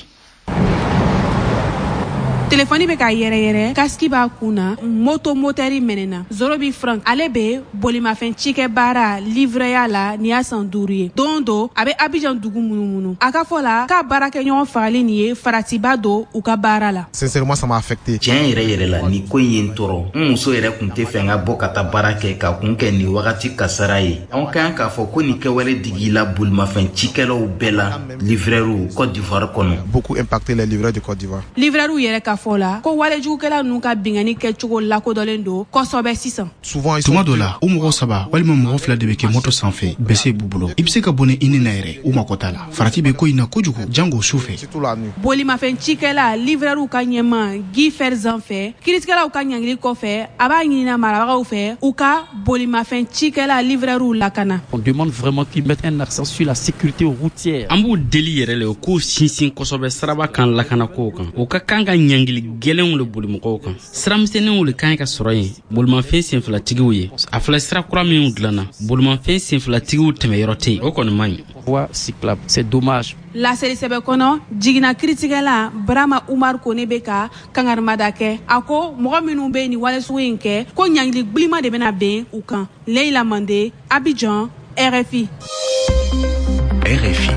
Telefɔni bɛ ka yɛrɛyɛrɛ, kasiki b'a kun na, moto motɛri mɛnɛna. Zorobi Frank, ale bɛ bolimafɛn cikɛ baara livreya la nin y'a san 5 ye. Don do a bɛ Abidjan dugu munumunu. A ka fɔ la k'a baarakɛɲɔgɔn fagali nin ye faratiba don u ka baara la.
Sincèrement, ça m'a affecté.
Tiɲɛ yɛrɛ yɛrɛ la, nin ko in ye n tɔɔrɔ. N muso yɛrɛ tun tɛ fɛ n ka bɔ ka taa baara kɛ ka kun kɛ nin wagati kasara ye. Anw ka kan k'a fɔ ko nin kɛwale digila bolimafɛn cikɛlaw bɛɛ la, livreurw Côte d'Ivoire kɔnɔ.
Beaucoup impacté les livreurs de Côte d'Ivoire.
Livreurw yɛrɛ ka fɔ la ko walejugukɛla ninnu ka binkanni kɛcogo lakodɔnlen don kosɛbɛ sisan.
Tuma dɔ la, u mɔgɔ 3 walima mɔgɔ 2 de bɛ kɛ moto sanfɛ, bese b'u bolo. I bɛ se ka bɔnɛ i ni na yɛrɛ, u mako t'a la. Farati bɛ ko in na kojugu, jango su fɛ.
Bolimafɛn cikɛla livreurw ka ɲɛma Guy Ferzan fɛ, kiiritigɛlaw ka ɲangili kɔfɛ, a b'a ɲinina marabagaw fɛ u ka bolimafɛn cikɛla livreurw lakana.
On demande vraiment qu'ils mettent un accent sur la sécurité routière.
An b'u deli yɛrɛ le k'u sinsin kosɛbɛ siraba kan lakanako kan. U ka kan ka ɲangili gwɛlɛnw le boli mɔgɔw kan. Siramisɛnninw le kan ka sɔrɔ yen bolimafɛn senfilatigiw ye. A filɛ sira kura minw dilanna, bolimafɛn senfilatigiw tɛmɛyɔrɔ tɛ yen, o kɔni man ɲi.
Voie cyclable, c'est dommage.
Laseli sɛbɛn kɔnɔ, jiginna kiritigɛla Barama Umar Kone bɛ ka kangarimada kɛ. A ko mɔgɔ minnu bɛ nin wale sugu in kɛ, ko ɲangili gbilima de bɛna ben u kan. Leila Mande, Abidjan, RFI.
RFI.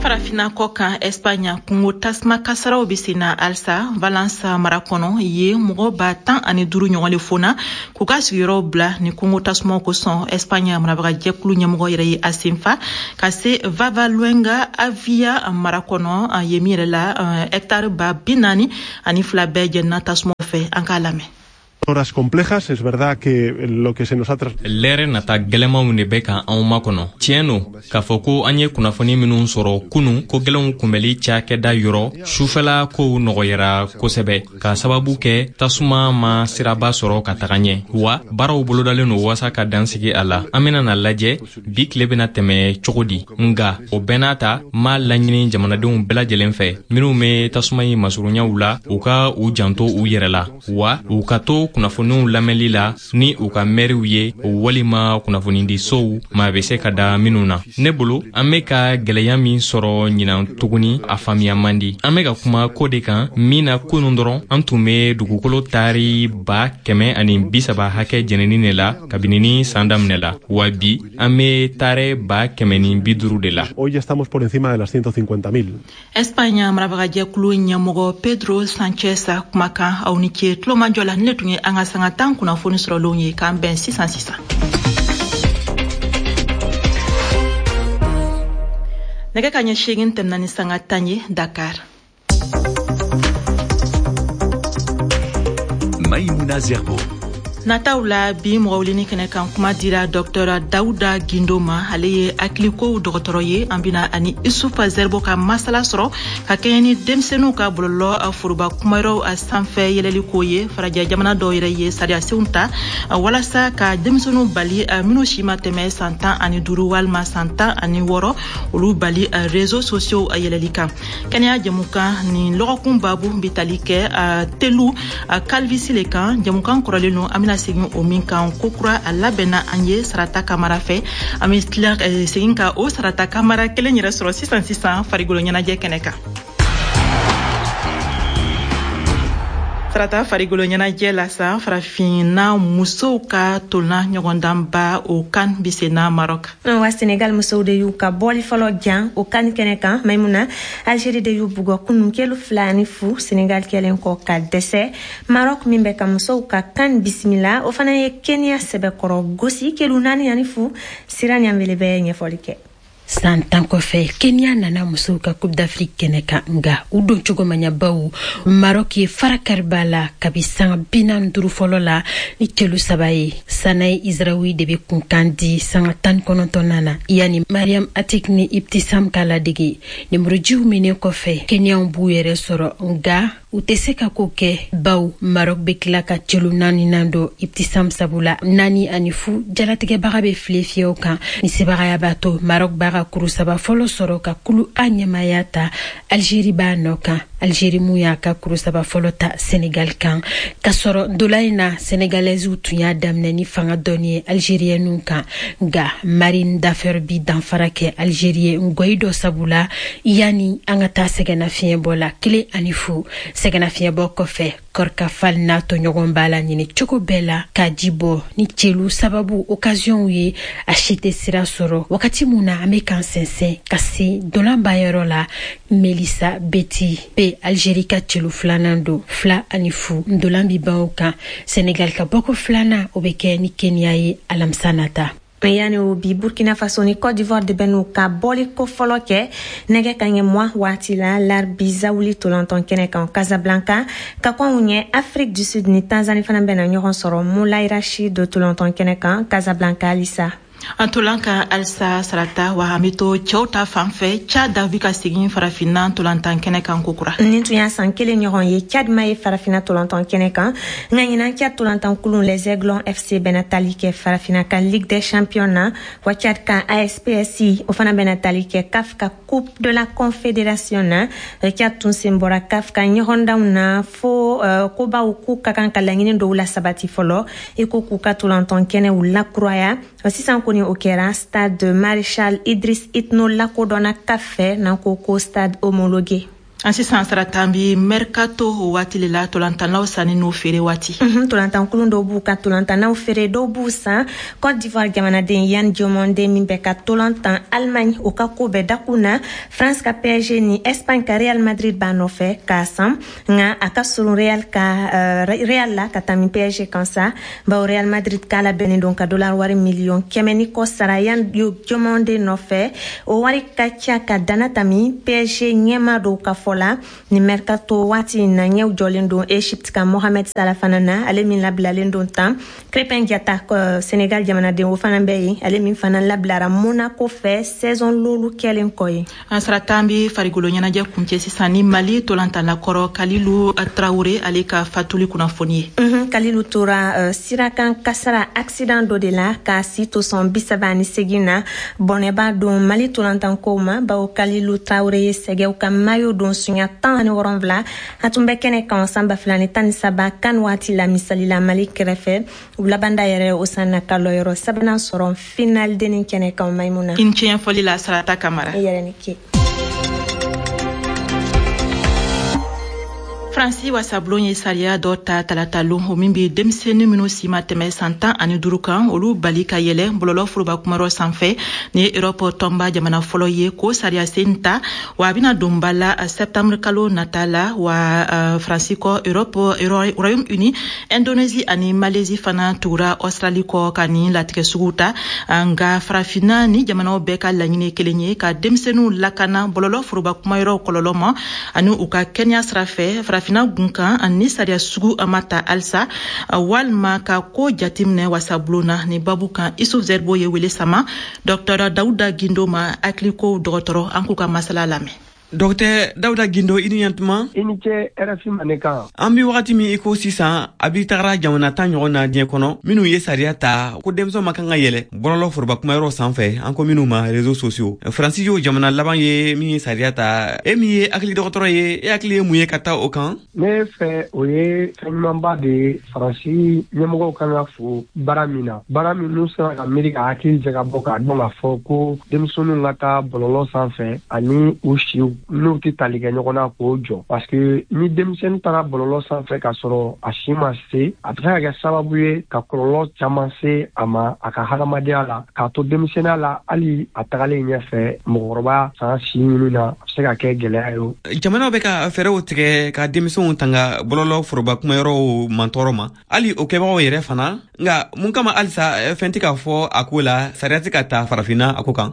Farafina kɔ kan, Espagne kungo tasuma kasaraw bɛ sen na halisa Valence mara kɔnɔ. Ye mɔgɔ 15,000 ɲɔgɔn de fona k'u ka sigiyɔrɔw bila ni kungo tasumaw kosɔn. Espagne marabagajɛkulu ɲɛmɔgɔ yɛrɛ ye a senfa ka se Vavaluenga Avia mara kɔnɔ ye min yɛrɛ la hɛkitari 42,000 bɛɛ jɛnina tasumaw fɛ. An k'a lamɛn.
Horas complejas, es verdad que lo que se nos ha
Lɛrɛ nata gwɛlɛmanw de bɛ ka anw makɔnɔ. Tiɲɛ no k'a fɔ ko an ye kunnafoni minw sɔrɔ kunu, ko gwɛlɛnw kunbɛli cakɛda yɔrɔ, sufɛla kow nɔgɔyara kosɛbɛ k'a sababu kɛ tasuma ma siraba sɔrɔ ka taga ɲɛ, wa baaraw bolodalen no waasa ka dansigi a la. An bena na lajɛ bi tile bena tɛmɛ cogo di. Nga o bɛɛ n'a ta, m'a laɲini jamanadenw bɛɛ lajɛlen fɛ minw be tasuma ɲi masurunyaw la, u ka u janto u yɛrɛ la, wa u ka to kunnafoniw lamɛnli la ni u ka mɛriw ye walima kunnafonidisow maa bɛ se ka da minnu na. Ne bolo, an bɛ ka gwɛlɛya min sɔrɔ ɲinan tuguni, a faamuya man di. An bɛ ka kuma ko de kan min na kunun dɔrɔn, an tun bɛ dugukolo taari 130,000 hakɛ jɛnini de la kabini ni san daminɛ la, wa bi an bɛ taarɛ 150,000 de la.
Hoy ya estamos por encima de las 150.000.
Espagne marabagajɛkulu ɲɛmɔgɔ Pedro Sanchez kumakan. Aw ni ce tulomajɔ la. Ne tun ye an ka sanga 10 kunnafoni sɔrɔlenw ye. K'an bɛn sisan sisan. Nɛgɛ ka ɲɛ 8 tɛmɛna ni sanga 10 ye Dakar.
Maïmouna Zerbo.
Nataw la bi, mɔgɔ wulini kɛnɛ kan, kuma dira Dɔktɔr Dawuda Gindo ma. Ale ye hakilikow dɔgɔtɔrɔ ye. An bina ani Isufa Zɛribo ka masala sɔrɔ ka kɛɲɛ ni denmisɛnninw ka bɔlɔlɔ foroba kumayɔrɔw sanfɛ yɛlɛli ko ye. Farajɛ jamana dɔw yɛrɛ ye sariyasenw ta walasa ka denmisɛnninw bali, minnu si ma tɛmɛ san 15 walima san 16, olu bali réseaux sociaux yɛlɛli kan. Kɛnɛya jɛmukan nin lɔgɔkun babu bi tali kɛ telu calvitie le kan. Jɛmukan kɔrɔlen no, an bɛna segin o min kan kokura. A labɛnna an ye Sarata Kamara fɛ. An bɛ tila segin ka o Sarata Kamara kelen yɛrɛ sɔrɔ sisan sisan farikolo ɲɛnajɛ kɛnɛ kan. Sarata, farikolo ɲɛnajɛ la sa, farafinna musow ka tolna ɲɔgɔndanba, o kan bi senna Maroc.
Wa Senegal musow de y'u ka bɔli fɔlɔ jan o kan kɛnɛ kan. Maimuna, Algérie de y'u bugɔ kunun kelu 2-0, Senegal kɛlen kɔ ka dɛsɛ. Maroc min bɛ ka musow ka kan bisimila, o fana ye Kenya sɛbɛkɔrɔ gosi kelu 4-0. Sira Ɲanbele bɛ ɲɛfɔli kɛ.
San 10 kɔfɛ, Kenya nana musow ka Coupe d'Afrique kɛnɛ kan, nga u don cogo ma ɲa, baw Maroc ye fara kariba la kabi sanga 45 fɔlɔ la ni celu 3 ye. Sanae Israoui de be kunkan di sanga 19nan na, yani Mariam Atik ni Ibtisam ka ladege. Nemurujiw minen kɔfɛ, Kenyaw b'u yɛrɛ sɔrɔ, nga u tɛ se ka ko kɛ, baw Maroc bɛ tila ka celu naaninan don Ibtisam sabula. 4-0, jalatigɛbaga bɛ file fiyɛw kan. Ni sebagaya b'a to Maroc b'a ka kuru 3 fɔlɔ sɔrɔ ka kulu A ɲɛmaya ta. Algérie b'a nɔ kan, Algérie mun y'a ka kuru 3 fɔlɔ ta Sénégal kan, k'a sɔrɔ ndola in na Sénégalaisew tun y'a daminɛ ni fanga dɔɔni ye Algérienw kan, nka Marine Dafer bi danfara kɛ Algérie ye ngɔyi dɔ sabula yanni an ka taa sɛgɛnnafiɲɛbɔ la, 1-0. Sɛgɛnnafiɲɛbɔ kɔfɛ, Kɔrikafal n'a tɔɲɔgɔn b'a la ɲini cogo bɛɛ la ka ji bɔ ni celu sababu occasionw ye, a si tɛ sira sɔrɔ. Wagati mun na an bɛ k'an sɛnsɛn ka se dolanbayɔrɔ la, Melissa Beti bɛ Algérie ka celu filanan don, 2-0. Ndolan bi ban o kan. Senegal ka bɔko filanan, o bɛ kɛ ni Kenya ye alamisa nata.
Yani o, bi Burkina Faso ni Côte d'Ivoire de bɛ n'u ka bɔli ko fɔlɔ kɛ nɛgɛ ka ɲɛ 20 waati la Larbi Zawuli tolantɔn kɛnɛ kan Casablanca. Ka kɔn ɲɛ, Afrique du Sud ni Tanzanie fana bɛna ɲɔgɔn sɔrɔ Moulay Rachid tolantɔn kɛnɛ kan Casablanca halisa.
An tolan ka halisa, Sarata, wa an bɛ to cɛw ta fan fɛ. Tchad bi ka segin farafinna tolantan kɛnɛ kan kokura.
Nin tun y'a san kelen ɲɔgɔn ye Tchad ma ye farafinna tolantan kɛnɛ kan, nka ɲinan Tchad tolantan kulun Les Aiglons FC bɛna tali kɛ farafinna ka Ligue des Champions na, wa Tchad ka ASPSI, o fana bɛna tali kɛ CAF ka Coupe de la Confédération na. Tchad tun sen bɔra CAF ka ɲɔgɔndanw na fo kobaw k'u ka kan ka laɲini dɔw la sabati fɔlɔ, i ko k'u ka tolantan kɛnɛw lakuraya. Sisan kɔni o kɛra, stade Maréchal Idriss Itno lakodɔnna CAF fɛ n'an ko ko stade homologué.
An sisan Sarata, an bi mercato waati le la, tolantannaw sanni n'u feere waati.
Tolantankulun dɔw b'u ka tolantannaw feere, dɔw b'u san. Côte d'Ivoire jamanaden Yan Diomande min bɛ ka tolantan Allemagne, o ka ko bɛɛ dakun na. France ka PSG ni Espagne ka Real Madrid b'a nɔfɛ k'a san, nka a ka surun Real ka Real la ka tami PSG kan sa, bawo Real Madrid k'a labɛnnen don ka dollar wari miliyɔn 100 ni kɔ sara Yan Diomande nɔfɛ. O wari ka ca ka dana tami PSG ɲɛma dɔw ka fɔ la. Ni mercato waati in na, ɲɛw jɔlen don Egypte ka Mohamed Salah fana na, ale min labilalen don tan. Crépin Diatta, Sénégal jamanaden, o fana bɛ yen, ale min fana labilara Monaco fɛ saison lolu kɛlen kɔ ye.
An Sarata, an bi farikolo ɲɛnajɛ kuncɛ sisan ni Mali tolantanna kɔrɔ Kalilu Tarawure, ale ka fatuli kunnafoni ye.
Kalilu tora sirakan kasara accident dɔ de la k'a si to sɔn 38 na. Bɔnɛba don Mali tolantankow ma, bawo Kalilu Tarawure ye Sɛgɛw ka maillot don sunya 17. A tun bɛ kɛnɛ kan san 2013 kan waati la, misali la Mali kɛrɛfɛ. U labanda yɛrɛ o san na ka lɔyɔrɔ sabanan sɔrɔ final denni kɛnɛ kan. Maimuna.
I ni ce ɲɛfɔli la, Sarata Kamara.
I yɛrɛ ni ce.
Faransi wasabulon ye sariya dɔ ta talata lon, o min be denmisɛnnin minw si ma tɛmɛ san 15 kan, olu bali ka yɛlɛ bɔlɔlɔ foroba kumayɔrɔ sanfɛ. Ni ye Erɔpɔ tɔnba jamana fɔlɔ ye k'o sariya sen ta, wa a bena don ba la septembre kalo nata la. Wa Faransi kɔ, Europe, Royaume Uni, Indonésie ani Malaisie fana tugura Australie kɔ ka nin latigɛ sugu ta. Nga Farafinna ni jamanaw bɛɛ ka laɲini kelen ye ka denmisɛnninw lakana bɔlɔlɔ foroba kumayɔrɔw kɔlɔlɔ ma ani u ka kɛnɛya sira fɛ. Farafinna gun kan, ni sariya sugu ma ta halisa walima ka ko jateminɛ wasabulon na, ni babu kan, Isuf Zerbo ye wele sama Dr Dawuda Gindo ma, hakilikow dɔgɔtɔrɔ. An k'u ka masala lamɛn.
Dɔgɔtɛ Dawuda Gindo, i ni ɲantuma.
I ni ce RFI Mandenkan.
An bi wagati min i ko sisan, a bi tagara jamana 10 ɲɔgɔn na diɲɛ kɔnɔ minnu ye sariya ta ko denmisɛnw ma kan ka yɛlɛ bɔlɔlɔ foroba kumayɔrɔ sanfɛ, an ko minnu ma réseaux sociaux. Faransi y'o jamana laban ye min ye sariya ta. E min ye hakili dɔgɔtɔrɔ ye, e hakili ye mun ye ka taa o kan?
Ne fɛ, o ye fɛn ɲumanba de ye. Faransi ɲɛmɔgɔw kan ka fo baara min na, baara min n'u sera ka miiri ka hakili jagabɔ k'a dɔn k'a fɔ ko denmisɛnninw ka taa bɔlɔlɔ sanfɛ ani u siw n'u tɛ tali kɛ ɲɔgɔn na, k'o jɔ, parce que ni denmisɛnnin taara bɔlɔlɔ sanfɛ k'a sɔrɔ a si ma se, a bɛ se ka kɛ sababu ye ka kɔlɔlɔ caman se a ma a ka hadamadenya la, k'a to denmisɛnninya la, hali a tagalen ɲɛfɛ mɔgɔkɔrɔba san si ɲini na, a bɛ se ka kɛ gɛlɛya ye.
Jamanaw bɛ ka fɛɛrɛw tigɛ ka denmisɛnw tanga bɔlɔlɔ foroba kumayɔrɔw mantɔɔrɔ ma, hali o kɛbagaw yɛrɛ fana. Nka mun kama halisa fɛn tɛ ka fɔ a ko la, sariya tɛ ka ta Farafinna a ko kan?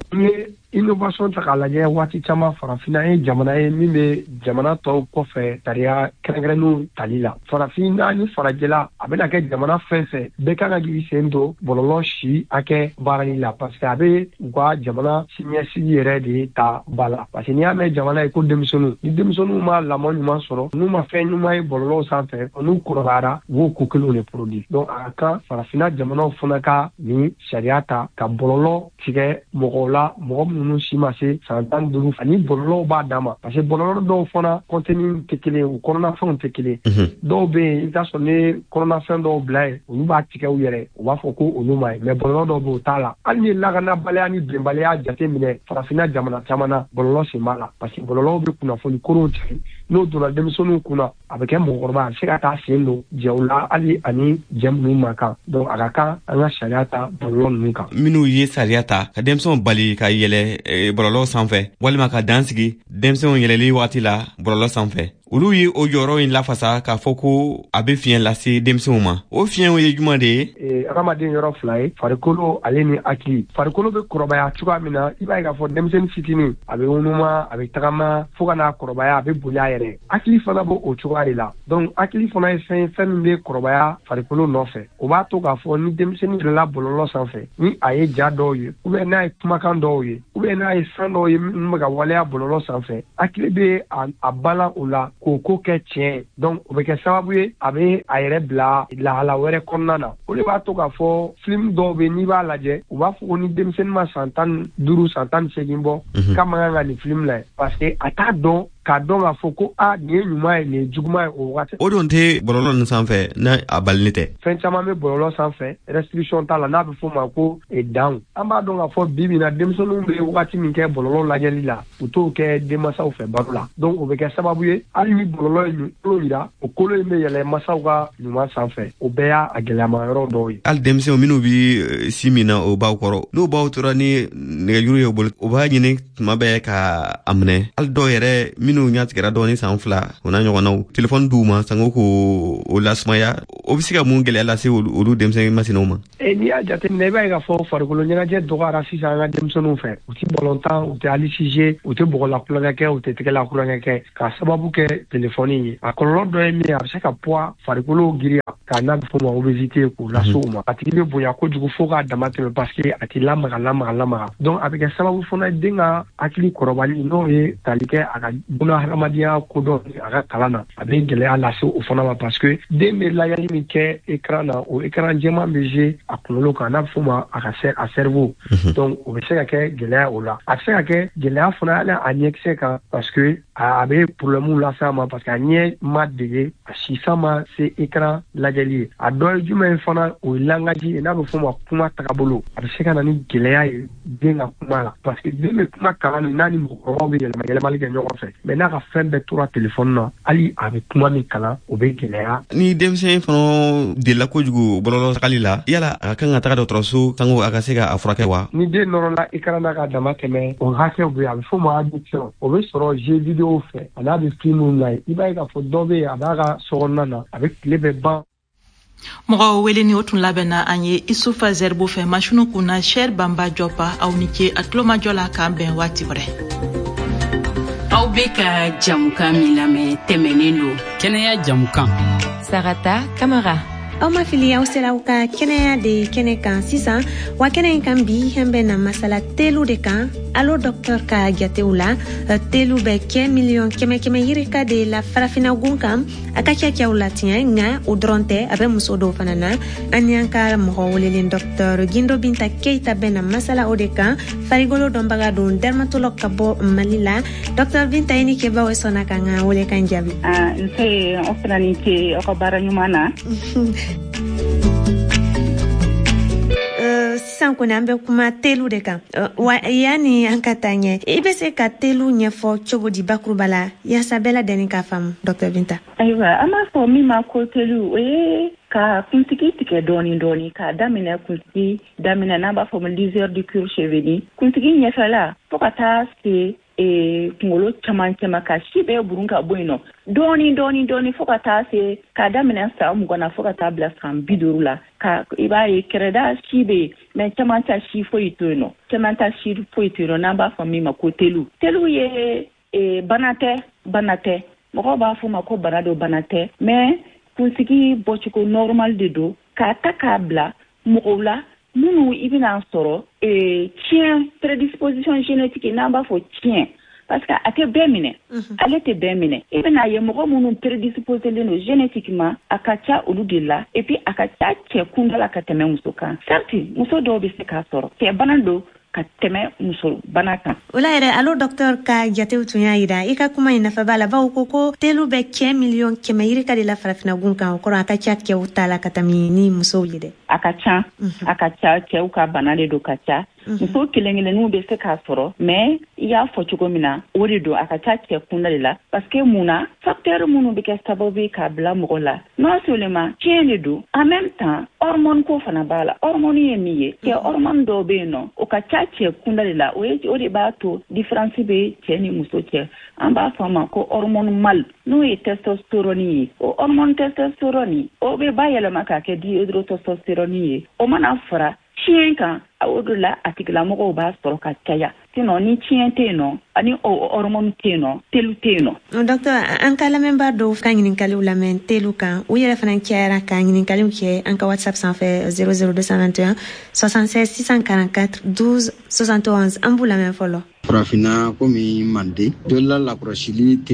Innovation ta k'a lajɛ, waati caman Farafinna ye jamana ye min bɛ jamana tɔw kɔfɛ sariya kɛrɛnkɛrɛnnenw tali la. Farafinna ni farajɛla, a bɛna kɛ jamana fɛn fɛn bɛɛ kan ka k'i sen don bɔlɔlɔ si hakɛ baarali la, parce que a bɛ u ka jamana siniɲɛsigi yɛrɛ de ta ba la, parce que n'i y'a mɛn jamana ye ko denmisɛnninw, ni denmisɛnninw ma lamɔ ɲuman sɔrɔ, n'u ma fɛn ɲuman ye bɔlɔlɔw sanfɛ, n'u kɔrɔbayara, u b'o ko kelenw de produit. Donc a ka kan Farafinna jamanaw fana ka nin sariya ta ka bɔlɔlɔ tigɛ mɔgɔw la, mɔgɔ minnu si ma se san 15, ani bɔlɔlɔw b'a dan ma, parce que bɔlɔlɔ dɔw fana contenu tɛ kelen, u kɔnɔnafɛnw tɛ kelen. Dɔw bɛ yen, i bɛ taa sɔrɔ ni kɔnɔnafɛn dɔw bila yen, olu b'a tigɛ u yɛrɛ, u b'a fɔ ko olu ma ye, mais bɔlɔlɔ dɔw bɛ yen, o t'a la. Hali ni lakanabaliya ni bɛnbaliya jate minɛ Farafinna jamana caman na, bɔlɔlɔ sen b'a la, parce que bɔlɔlɔw bɛ kunnafoni koronw tigɛ. N'o donna denmisɛnninw kunna, a bɛ kɛ mɔgɔkɔrɔba, a bɛ se ka taa sen don jɛw la, hali ani jɛ minnu man kan. Donc a ka kan an ka sariya ta bɔlɔlɔ ninnu kan.
Minnu ye sariya ta ka denmisɛnw bali ka yɛlɛ bɔlɔlɔ sanfɛ walima ka dan sigi denmisɛnw yɛlɛli wagati la bɔlɔlɔ sanfɛ, olu ye o jɔyɔrɔ in lafasa k'a fɔ ko a bɛ fiɲɛ lase denmisɛnw ma. O fiɲɛw ye jumɛn de ye?
Hadamaden yɔrɔ fila ye, farikolo ale ni hakili. Farikolo bɛ kɔrɔbaya cogoya min na, i b'a ye k'a fɔ denmisɛnnin fitinin a bɛ ŋunuma, a bɛ tagama, fo ka n'a kɔrɔbaya a bɛ boli a yɛrɛ. Hakili fana b'o o cogoya de la. Donc hakili fana ye fɛn ye, fɛn min bɛ kɔrɔbaya farikolo nɔfɛ. O b'a to k'a fɔ ni denmisɛnnin yɛlɛla bɔlɔlɔ sanfɛ, ni a ye ja dɔw ye, ou bien n'a ye kumakan dɔw ye, ou bien n'a ye fɛn dɔw ye minnu bɛ ka waleya bɔlɔlɔ sanfɛ, hakili bɛ a balan o la k'o ko kɛ tiɲɛ ye. Donc o bɛ kɛ sababu ye a bɛ a yɛrɛ bila lahala wɛrɛ kɔnɔna na. O de b'a to k'a fɔ film dɔw bɛ, n'i b'a lajɛ, u b'a fɔ ko ni denmisɛnnin ma san 15, san 18 bɔ, k'a man kan ka nin film lajɛ, parce que a t'a dɔn. K'a dɔn k'a fɔ ko a nin ye ɲuman ye, nin ye juguman ye o wagati.
O don tɛ bɔlɔlɔ ninnu sanfɛ n'a a balili tɛ.
Fɛn caman bɛ bɔlɔlɔ sanfɛ, restriction t'a la, n'a bɛ f'o ma ko danw. An b'a dɔn k'a fɔ bi bi in na, denmisɛnninw bɛ wagati min kɛ bɔlɔlɔ lajɛli la, u t'o kɛ denmansaw fɛ baro la. Donc o bɛ kɛ sababu ye, hali ni bɔlɔlɔ ye kolo yira, o kolo in bɛ yɛlɛ masaw ka ɲuman sanfɛ. O bɛɛ y'a gɛlɛyama yɔrɔ dɔw ye.
Hali denmisɛnw minnu bɛ si min na o baw kɔrɔ, n'o baw tora ni nɛgɛjuru ye u bolo, u b'a ɲini tuma bɛɛ ka a minɛ. Hali dɔw yɛrɛ minnu ɲɛ tigɛra dɔɔni san 2 o n'a ɲɔgɔnnaw, telefɔni d'u ma sango k'o lasumaya, o bɛ se ka mun gɛlɛya lase olu denmisɛnnin masinaw ma?
N'i y'a jateminɛ, i b'a ye k'a fɔ farikolo ɲɛnajɛ dɔgɔyara sisan an ka denmisɛnninw fɛ. U tɛ ballon tan, u tɛ hali sije, u tɛ bɔgɔla kulonkɛ kɛ, u tɛ tɛgɛla kulonkɛ kɛ, k'a sababu kɛ telefɔni ye. A kɔlɔlɔ dɔ ye min ye, a bɛ se ka poids farikolo giriya, k'a n'a bɛ f'o ma obésité, k'o lase u ma. A tigi bɛ bonya kojugu fo k'a dama tɛmɛ, parce que a tɛ lamaga lamaga lamaga. Donc a bɛ kɛ sababu fana ye den ka hakili kɔrɔbali, n'o ye tali kɛ a ka buna hadamadenya kodɔn a ka kalan na, a bɛ gɛlɛya lase o fana ma, parce que den bɛ lajɛli min kɛ écran na, o écran jɛman bɛ jouer a kunkolo kan, n'a bɛ f'o ma a ka a cerveau. Donc o bɛ se ka kɛ gɛlɛya o la. A bɛ se ka kɛ gɛlɛya fana hali a ɲɛkisɛ kan, parce que a bɛ problème lase a ma, parce que a ɲɛ ma dege, a sisan ma se écran lajɛli ye. A dɔ ye jumɛn ye fana, o ye langage ye, n'a bɛ f'o ma kuma tagabolo. A bɛ se ka na ni gɛlɛya ye den ka kuma la, parce que den bɛ kuma kalan ni n'a ni mɔgɔkɔrɔbaw bɛ yɛlɛma yɛlɛmali kɛ ɲɔgɔn fɛ, mais n'a ka fɛn bɛɛ tora telefɔni na, hali a bɛ kuma min kalan, o bɛ gɛlɛya.
Ni denmisɛn fana delila kojugu bɔlɔlɔ tagali la, yala a ka kan ka taga dɔgɔtɔrɔso sango a ka se ka a furakɛ wa?
Ni den nɔrɔla écran na ka dama tɛmɛ, o hakɛw bɛ yen, a bɛ f'o ma addiction. O bɛ sɔrɔ jeu vidéo fɛ, a n'a bɛ film na ye. I b'a ye k'a fɔ dɔ bɛ yen, a b'a ka sokɔnɔna na, a bɛ tile bɛɛ ban.
Mɔgɔw weleni o tun labɛnna an ye Isufa Zɛribo fɛ, masiniw kunna Sɛri Banba Jɔpa. Aw ni ce a tulomajɔ la, k'an bɛn waati wɛrɛ.
Aw bɛ ka jamukan min lamɛn tɛmɛnen don,
kɛnɛya jamukan.
Sarata Kamara. Aw ma fili, aw sera aw ka kɛnɛya de kɛnɛ kan sisan. Wa kɛnɛ in kan bi, an bɛ na masala telu de kan. Allo docteur ka jatew la, telu bɛ kɛ miliyɔn 100 yirika de la farafina gun kan. A ka ca cɛw la tiɲɛ, nka o dɔrɔn tɛ, a bɛ muso dɔw fana na. An y'an ka mɔgɔ welelen docteur Gindo Binta Keita bɛ na masala o de kan. Farikolo dɔnbaga don, dermatologue ka bɔ Mali la. Docteur Binta, i ni ce bawo sɔnna ka n ka welekan jaabi.
Nse, aw fana ni ce aw ka baara ɲuman na.
Sisan kɔni an bɛ kuma telu de kan. Wa yanni an ka taa ɲɛ, i bɛ se ka telu ɲɛfɔ cogo di bakuruba la yaasa bɛɛ lajɛlen k'a faamu, docteur Binta?
Ayiwa, an b'a fɔ min ma ko telu, o ye ka kunsigi tigɛ dɔɔni dɔɔni, k'a daminɛ kunsigi daminɛ, n'an b'a fɔ ma lisière du cuir chevelu, kunsigi ɲɛfɛla, fo ka taa se kunkolo camancɛ ma, ka si bɛɛ burun ka bɔ yen nɔ dɔɔni dɔɔni dɔɔni, fo ka taa se k'a daminɛ san 20 na fo ka taa bila san 50 la. Ka i b'a ye kɛrɛda si bɛ yen, mais camancɛ si foyi to yen nɔ, camancɛ si foyi to yen nɔ, n'an b'a fɔ min ma ko telu. Telu ye bana tɛ, bana tɛ, mɔgɔw b'a fɔ ma ko bana don, bana tɛ, mais kunsigi bɔcogo normal de don, k'a ta k'a bila mɔgɔw la minnu i bɛna sɔrɔ tiɲɛ prédisposition génétique, n'an b'a fɔ tiɲɛ, parce que a tɛ bɛɛ minɛ, ale tɛ bɛɛ minɛ. I bɛna ye mɔgɔ minnu prédisposelen don génétiquement, a ka ca olu de la, et puis a ka ca cɛ kunda la ka tɛmɛ muso kan. Certes, muso dɔw bɛ se k'a sɔrɔ, cɛ bana don ka tɛmɛ muso bana kan.
O la yɛrɛ, allo docteur ka jatew tun y'a yira, i ka kuma in nafa b'a la, bawo ko telu bɛ cɛ miliyɔn 100 yirika de la farafina gun kan. O kɔrɔ a ka ca cɛw ta la ka tɛmɛ ni musow ye dɛ.
A ka ca, a ka ca, cɛw ka bana de don ka ca. Muso kelen kelenninw bɛ se k'a sɔrɔ, mais i y'a fɔ cogo min na, o de don, a ka ca cɛ kunda de la, parce que mun na, facteur minnu bɛ kɛ sababu ye k'a bila mɔgɔ la, non seulement tiɲɛ de don, en même temps hormone ko fana b'a la. Hormone ye min ye, cɛ hormone dɔw bɛ yen nɔ, o ka ca cɛ kunda de la, o ye o de b'a to différence bɛ cɛ ni muso cɛ. An b'a fɔ a ma ko hormone mâle, n'o ye testostérone ye. O hormone testostérone, o bɛ bayɛlɛma k'a kɛ dihydrotestostérone ye. O mana fara tiɲɛ kan, o de la a tigilamɔgɔw b'a sɔrɔ ka caya. Sinon ni tiɲɛ tɛ yen nɔ, ani o hormone tɛ yen nɔ, telu tɛ yen nɔ.
Docteur, an ka lamɛnbaa dɔw ka ɲininkaliw lamɛn telu kan, u yɛrɛ fana cayara ka ɲininkaliw kɛ an ka WhatsApp sanfɛ 00221 76 644 12 71. An b'u lamɛn fɔlɔ.
Farafinna komi manden, jolila lakɔlɔsili tɛ